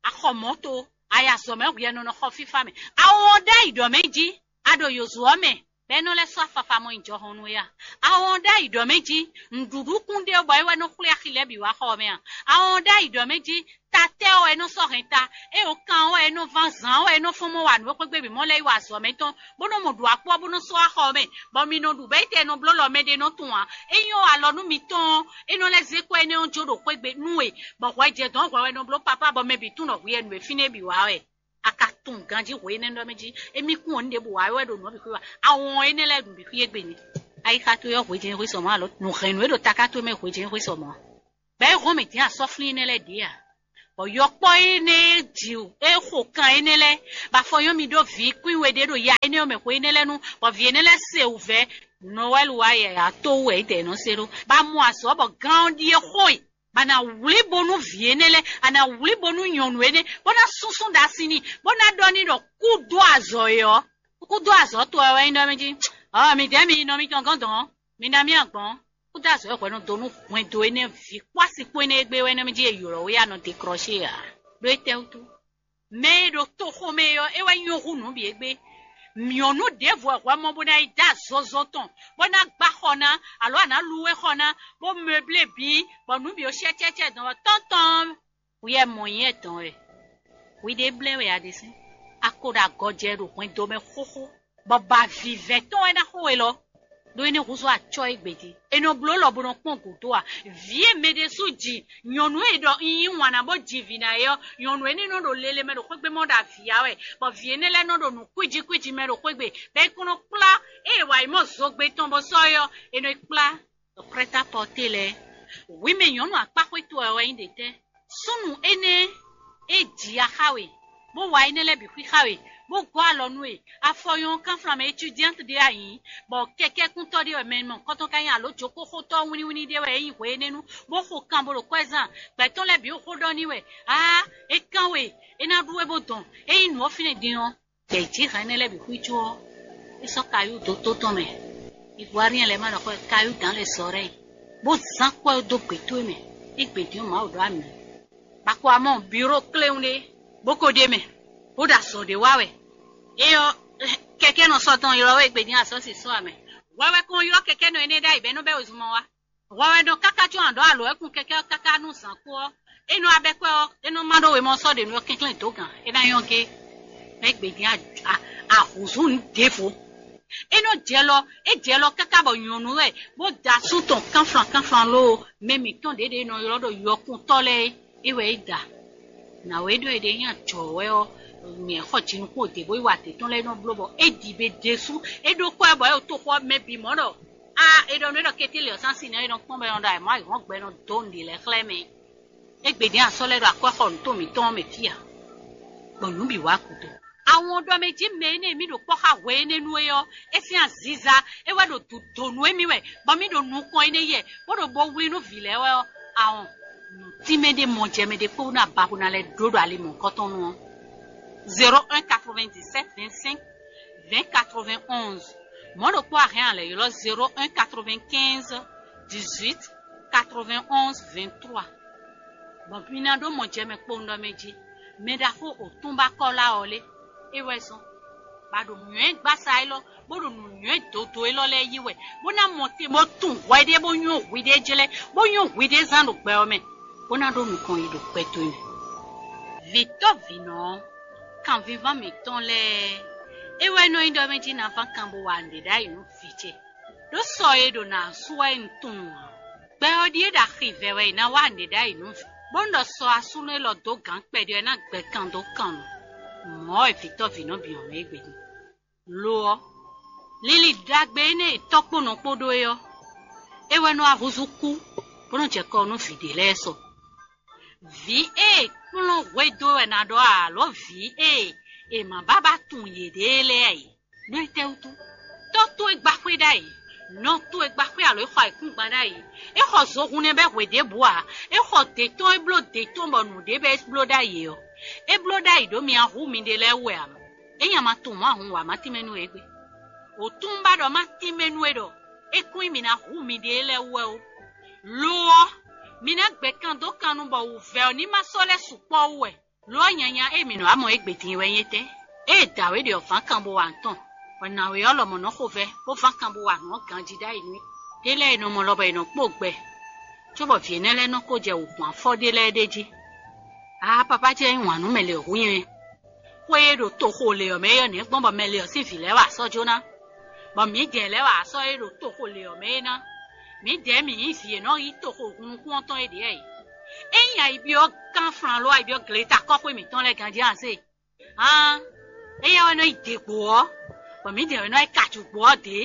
a xɔ mɔ̌to, a yi azɔ̌ mɛ hwɛ nɔ nɔ xɔ fífá mɛ. A wɔn ɖ'ayǐ ɖɔ mɛ jí, a ɖo yǒzo ɔ́ mɛ, bɔ é nɔ lɛ́ sɔ́ afafa mɔ nyi jɔhɔn nú we a? A wɔn ɖ'ayǐ ɖɔ mɛ jí, nǔɖuɖu kún ɖé bɔ é wɛ nɔ xwlé axi lɛ́ɛ bǐ wá xɔ ɔ́ mɛ a? A wɔn ɖ'ayǐ ɖɔ mɛ jí, tatɛ́ ɔ́ wɛ é nɔ sɔ́ hɛn ta, é o kan ɔ́ wɛ é nɔ ván zǎn ɔ́ wɛ é nɔ fɔ́n mɔ wa nǔ e xwé gbe bǐ mɔ lɛ́ɛ yi wa azɔ̌ mɛ tɔn, bó nɔ mɔ ɖu akpɔ́ bó nɔ́ sɔ́ wá xɔ ɔ́ mɛ, bɔ mi nɔ ɖu bɛ́ yi tɛ nɔ bló lɔ mɛ ɖé nɔ tunwun ǎ. É nyí ɔ́, alɔ nú mitɔn ɔ́, é nɔ lɛ́ zé kɔ énɛ́ ɔ́ jó ɖo xwé gbe nú we, bɔ hwɛ jɛ dɔ̌n hwɛ wɛ nɔ bló papá bɔ mɛ bǐ tunwun ɖɔ hwi wɛ nǔ e fínɛ́ bǐ wa wɛ. A ka tunwun ganjí hwe énɛ́ ɖɔ mɛ jí, émí kún ɔ́ nú ɖěbǔ wa wɛ ɖo nǔ ɔ́ bǐ xwé wa. Awɔn énɛ́ lɛ́ɛ ɖu bǐ xwí égbé ni. Ayixa towe ɔ́, hwe jɛ́n xwé sɔ mɔ̌ alo nǔ hɛn nǔ e ɖo taká towe mɛ hwe jɛ́n xwé sɔ mɔ̌. Bɔ é hɔn mɛ din asɔ́flín énɛ́ lɛ́ɛ ɖě a? Bɔ yɔkpɔ́ énɛ́ e ji é xo kan énɛ́ lɛ́ɛ, bɔ afɔ nyɔ́ mi ɖó vǐ kwín we ɖé ɖo ya énɛ́ ɔ́ mɛ xwe énɛ́ lɛ́ɛ nu, bɔ vǐ énɛ́ lɛ́ɛ se wǔvɛ́. Nɔwɛ́lu wá yɛ ato wú wɛ é dɛ nɔ se ɖó, bɔ a mɔ azɔ̌ bɔ gán ɔ́ ɖíe xo e, bɔ a nǎ wlí bónú vǐ énɛ́ lɛ́ɛ, a nǎ wlí bónú nyɔ̌nu énɛ́, bó ná súnsún ɖo asi n'i, bó ná ɖɔ n'i ɖɔ kú dó azɔ̌ é ɔ́, kú dó azɔ̌ towe wɛ nyí ɖɔ mɛ jí. Ɔ́, midɛɛ mi nɔ mitɔn gɔ́n dɔn, mi ná mì agbɔn. Kúdó azɔ̌ e hwɛ nɔ dó nú hwɛndo énɛ́ vǐ kpó asi kpó énɛ́ e gbé wɛ nɛ́ mɛ jí e ylɔ̌ we a nɔ deklɔ́she ǎ. Ɖó étɛ́wútu? Mɛ e ɖo toxo mɛ é ɔ́, é wɛ nyɔ́ hú nǔ bǐ égbé. Nyɔ̌nu ɖěvo wɛ hwɛ mɔ bó ná yi dó azɔzɔ tɔn, bó ná gbá xɔ ná, alo a nǎ lu we xɔ ná, bó mɛblé bǐ, bɔ nǔ bǐ ó shɛ́cɛ́cɛ́ dɔn wɛ tɔ́ntɔn. Hwi wɛ mɔ nyɛ dɔn wɛ. Hwi ɖě blɛ́ wɛ a ɖe sín. A ko ɖo agɔjɛ ɖo hwɛndo mɛ xóxó, bɔ ba vǐvɛ́ tɔn wɛ ná xo we lɔ. Ɖó é ní húzú acɔ́ égbé din. È nɔ bló lɔ bó nɔ kpɔ́n gǔdo a? Vǐ e mɛ ɖésú ji, nyɔ̌nu e ɖɔ un yí wǎn ná bó ji vǐ ná é ɔ́, nyɔ̌nu énɛ́ nɔ ɖo lele mɛ ɖo xwégbémɔ ɖo avǐ ya wɛ, bɔ vǐ énɛ́ lɛ́ɛ nɔ ɖo nǔ kwíji kwíji mɛ ɖo xwégbe, bɔ é kún nɔ kplá ée è wa yi mɔ zogbe tɔn bó sɔ́ é ɔ́, è nɔ yi kplá ɖo prɛ́tápɔté lɛ́ɛ. Hwi mɛ nyɔ̌nu akpáxwé towe wɛ nyí ɖětɛ́? Súnnu énɛ́ e ji ya xá we, bó wa énɛ́ lɛ́ɛ bǐ xwíxá we, bó gɔ́ alɔ nú we, afɔ nyɔ́ kánflán mɛ étudiante ɖé a nyǐ, bɔ kɛkɛ́kúntɔ́ ɖé wɛ mɛ mɔ̌hunkɔtɔn ka nyí alo jǒkóxótɔ́ wínníwínní ɖé wɛ é nyí hwe énɛ́ nu, bó xo kan bó ɖo kwɛ́ zán, gbɛ̌ tɔn lɛ́ɛ bǐ xo ɖɔ n'i wɛ, aa, é kán we, é ná ɖú we bó dɔn, é nyí nǔ ɔ́ fínɛ́ din ɔ́, gbɛ̌ jí hɛn énɛ́ lɛ́ɛ bǐ xwícó ɔ́, é sɔ́ kayú dó tó tɔn mɛ. Ivoirien lɛ́ɛ ma ɖɔ xɔ kayú dǎn lɛ́ɛ sɔ ɖɛ́, bó zán kwɛ́ dó gbě towe mɛ, é gbě din ɔ́ Mawu ɖó amǐ. Bɔ a ko wá mɔ biro kléwún ɖé, bó ko ɖ'é mɛ, bó ɖo azɔ̌ ɖé wa wɛ. Éyɔ́, kɛkɛ́nɔ sɔ́ tɔn ylɔ́ wɛ gbedin asɔ́ si sɔ́ amɛ. Hwɛ wɛ kɔn ylɔ́ kɛkɛ́nɔ énɛ́ ɖ'ayǐ bɔ é nɔ bɛ́ wezun mɔ wá. Hwɛ wɛ nɔ káká có aɖɔ̌ alɔ wɛ kun kɛkɛ́ ɔ́ káká nú zǎn kú ɔ́, é nɔ wá bɛ́ kwɛ́ ɔ́, é nɔ má ɖó wemɔ sɔ́ ɖě nú ɔ́ kɛnklɛ́n dǒ gǎn, é ná nyɔ́ gé. Mɛ gbedin ahǔzú nǔ ɖěvo. É nɔ jɛ lɔ, é jɛ lɔ káká bɔ nyɔ̌nu wɛ, bó da asú tɔn kánflan kánflan lóo, mɛ mǐtɔn ɖě ɖě nɔ ylɔ́ ɖɔ yɔkuntɔ́ lɛ́ɛ é. É wɛ é da. Nǎwe ɖɔ è ɖe nyí ajɔ̌ wɛ ɔ́, nyɛ xɔ jinukún òde bó yi wa adě tɔn lɛ́ɛ nɔ bló bɔ é ɖi be ɖésú, é ɖó kɔ́ ɛ bɔ é ɖo toxo ɔ́ mɛ bǐ mɔ̌ ɖɔ a è ɖɔ nú é ɖɔ kété lě ɔ́ sín asi nɛ́ é nɔ kpɔ́n bɔ é nɔ ɖɔ ayǐmɔ ayǐhɔ́ngbe nɔ dó nǔɖé lɛ́ɛ xlɛ́ mɛ. Égbé din asɔ́ lɛ́ɛ ɖo akwɛ́xɔnú tɔn mǐtɔn ɔ́ mɛ fí ǎ, bɔ nǔ bǐ wá gúdo. Awɔn ɖɔ mɛ jí mɛ énɛ́ e mì ɖo kpɔ́ xá hwe énɛ́ nú é ɔ́, é sín aziza é wɛ ɖo dǒ nú émí wɛ, bɔ mì ɖo nukɔn énɛ́ yɛ, bó ɖo bo wlí nú vǐ lɛ́ɛ wɛ ɔ́, awɔn nǔ tínmɛ ɖé mɔ jɛ mɛ ɖé kpó ná ba bó ná lɛ́ ɖó ɖo ali mɔ̌hunkɔtɔn nu ɔ́. Zéro un quatre-vingt-dix-sept vingt-cinq vingt quatre-vingt-onze. Mɔ̌ ɖokpó a hɛn a lɛ̌ ylɔ́ zéro un quatre-vingt-quinze dix-huit quatre-vingt-onze vingt-trois. Bɔ mi ná ɖó mɔ jɛ mɛ kpowun ɖɔ mɛ jí, mɛ ɖaxó òtúnba Kɔ́la ɔ́ lé, é wɛ zɔ́n, bɔ a ɖo nǔnywɛ́ gbasa élɔ́, bó ɖo nǔnywɛ́ dodo élɔ́ lɛ́ɛ yí wɛ, bó ná mɔ te bó tunwun hwɛ ɖé bó nywɔ́ hwi ɖé jlɛ́, bó nywɔ́ hwi ɖé zán ɖo gbɛ ɔ́ mɛ, bó ná ɖó nukɔn yi ɖo gbɛ towe mɛ. Vǐtɔ́ vǐnɔ ɔ́, kanvíván mǐtɔn lɛ́ɛ, é wɛ nɔ nyí ɖɔ mɛ jí ná ván kan bó wa nǔɖé ɖ'ayǐ nú vǐ ce, ɖó sɔ e ɖo nǎ sú wɛ un tunwun ǎ. Gbɛ ɔ́ ɖíe ɖo axi vɛ wɛ è nǎ wa nǔɖé ɖ'ayǐ nú vǐ, bónú ɖɔ sɔ asúnɔ élɔ́ dó gǎn kpɛɖé ɔ́ ná gbɛ kan dó kan nu. Mɔ̌ wɛ vǐtɔ́ vǐnɔ bǐ ɔ́ mɛ égbé din. Lo ɔ́, linlin ɖagbe énɛ́ e tɔ́ kpó nɔ kpó ɖó é ɔ́, é wɛ nɔ wá húzú kú, bó nɔ́ jɛ kɔ nú vǐ ɖé lɛ́ɛ sɔ. Vǐ e è kplɔ́n hwedó wɛ ná ɖɔ alǒ vǐ e è ma bábá tunwun yěɖée lɛ́ɛ ǎ é. Nɔ étɛ́wútu? Tɔ́ towe gba xwé ɖ'ayǐ, nɔ towe gba xwé alo é xɔ ayǐkúngban ɖ'ayǐ. É xɔ zohun nɛ́ bɛ́ hwe ɖěbǔ ǎ. É xɔ dě tɔn é bló dě tɔn bɔ nǔɖé bɛ́ é bló ɖ'ayǐ ɔ́, é bló ɖ'ayǐ ɖó mi ahú miɖée lɛ́ɛ wú wɛ ǎ. É nya ma tunwun Mawu wǎ ma tínmɛ nú we égbé. Wǒtúnba ɖɔ má tínmɛ nú we ɖɔ é kún nyí mǐ ná hu miɖée lɛ́ɛ wú wɛ ó. Lo ɔ́, mi ná gbɛ kan dó kan nu bɔ wǔvɛ́ ɔ́ ní ma sɔ́ lɛ́ sukpɔ́ wú wɛ. Lo ɔ́, nyanya e mǐ nɔ wá mɔ égbé din wɛ nyí étɛ́? Ée dǎwe ɖě ɔ́ ván kan bó wa nǔ tɔn, bɔ nǎwe ɔ́ lɔmɔ̌ nɔ xo vɛ́, bó ván kan bó wa nǔ ɔ́ ganjí ɖ'ayǐ nú é. Ɖé lɛ́ɛ è nɔ mɔ lɔ bɔ è nɔ kpó gbɛ, cóbɔ vǐ énɛ́ lɛ́ɛ nɔ ko jɛ wǔhwan afɔ ɖé lɛ́ɛ ɖ'é jí. Aa, papá ce nyí wǎn nú mɛ lě hu nyɛ. Xwé e ɖo toxo lě ɔ́ mɛ é ɔ́, nɛ̌ gbɔn bɔ mɛ lě ɔ́ sín vǐ lɛ́ɛ wa asɔ́ jó ná? Bɔ mǐdɛɛ lɛ́ɛ wa asɔ́ e ɖo toxo lě ɔ́ mɛ é ná. Mǐdɛɛ mǐ nyí vǐ e nɔ yí toxo hun nukún ɔ́ tɔn é ɖě wɛ. Ényí ayi byɔ́ kánflán ló ayi byɔ́ gleta kɔ́xwé mǐtɔn lɛ́ɛ ganjí a se? Hán, éyɛ́ wɛ nɔ yi dě gbo ɔ́, bɔ mǐdɛɛ wɛ nɔ yi ka jǔgbó ɔ́ dě.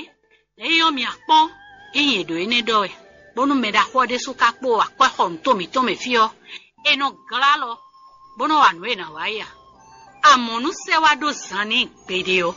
Ényí ɔ́, mi akpɔ́n, ényí è ɖǒ énɛ́ ɖɔ wɛ, bónú mɛ ɖaxó ɔ́ ɖésú ka kpó akwɛ́xɔnǔ to mǐtɔn mɛ fí ɔ́, è nɔ glá alɔ, bó nɔ́ wa nǔ e è nǎ wa é ǎ. Amɔ̌ nú sɛ́ wá ɖó zan n'i gbeɖé ɔ́,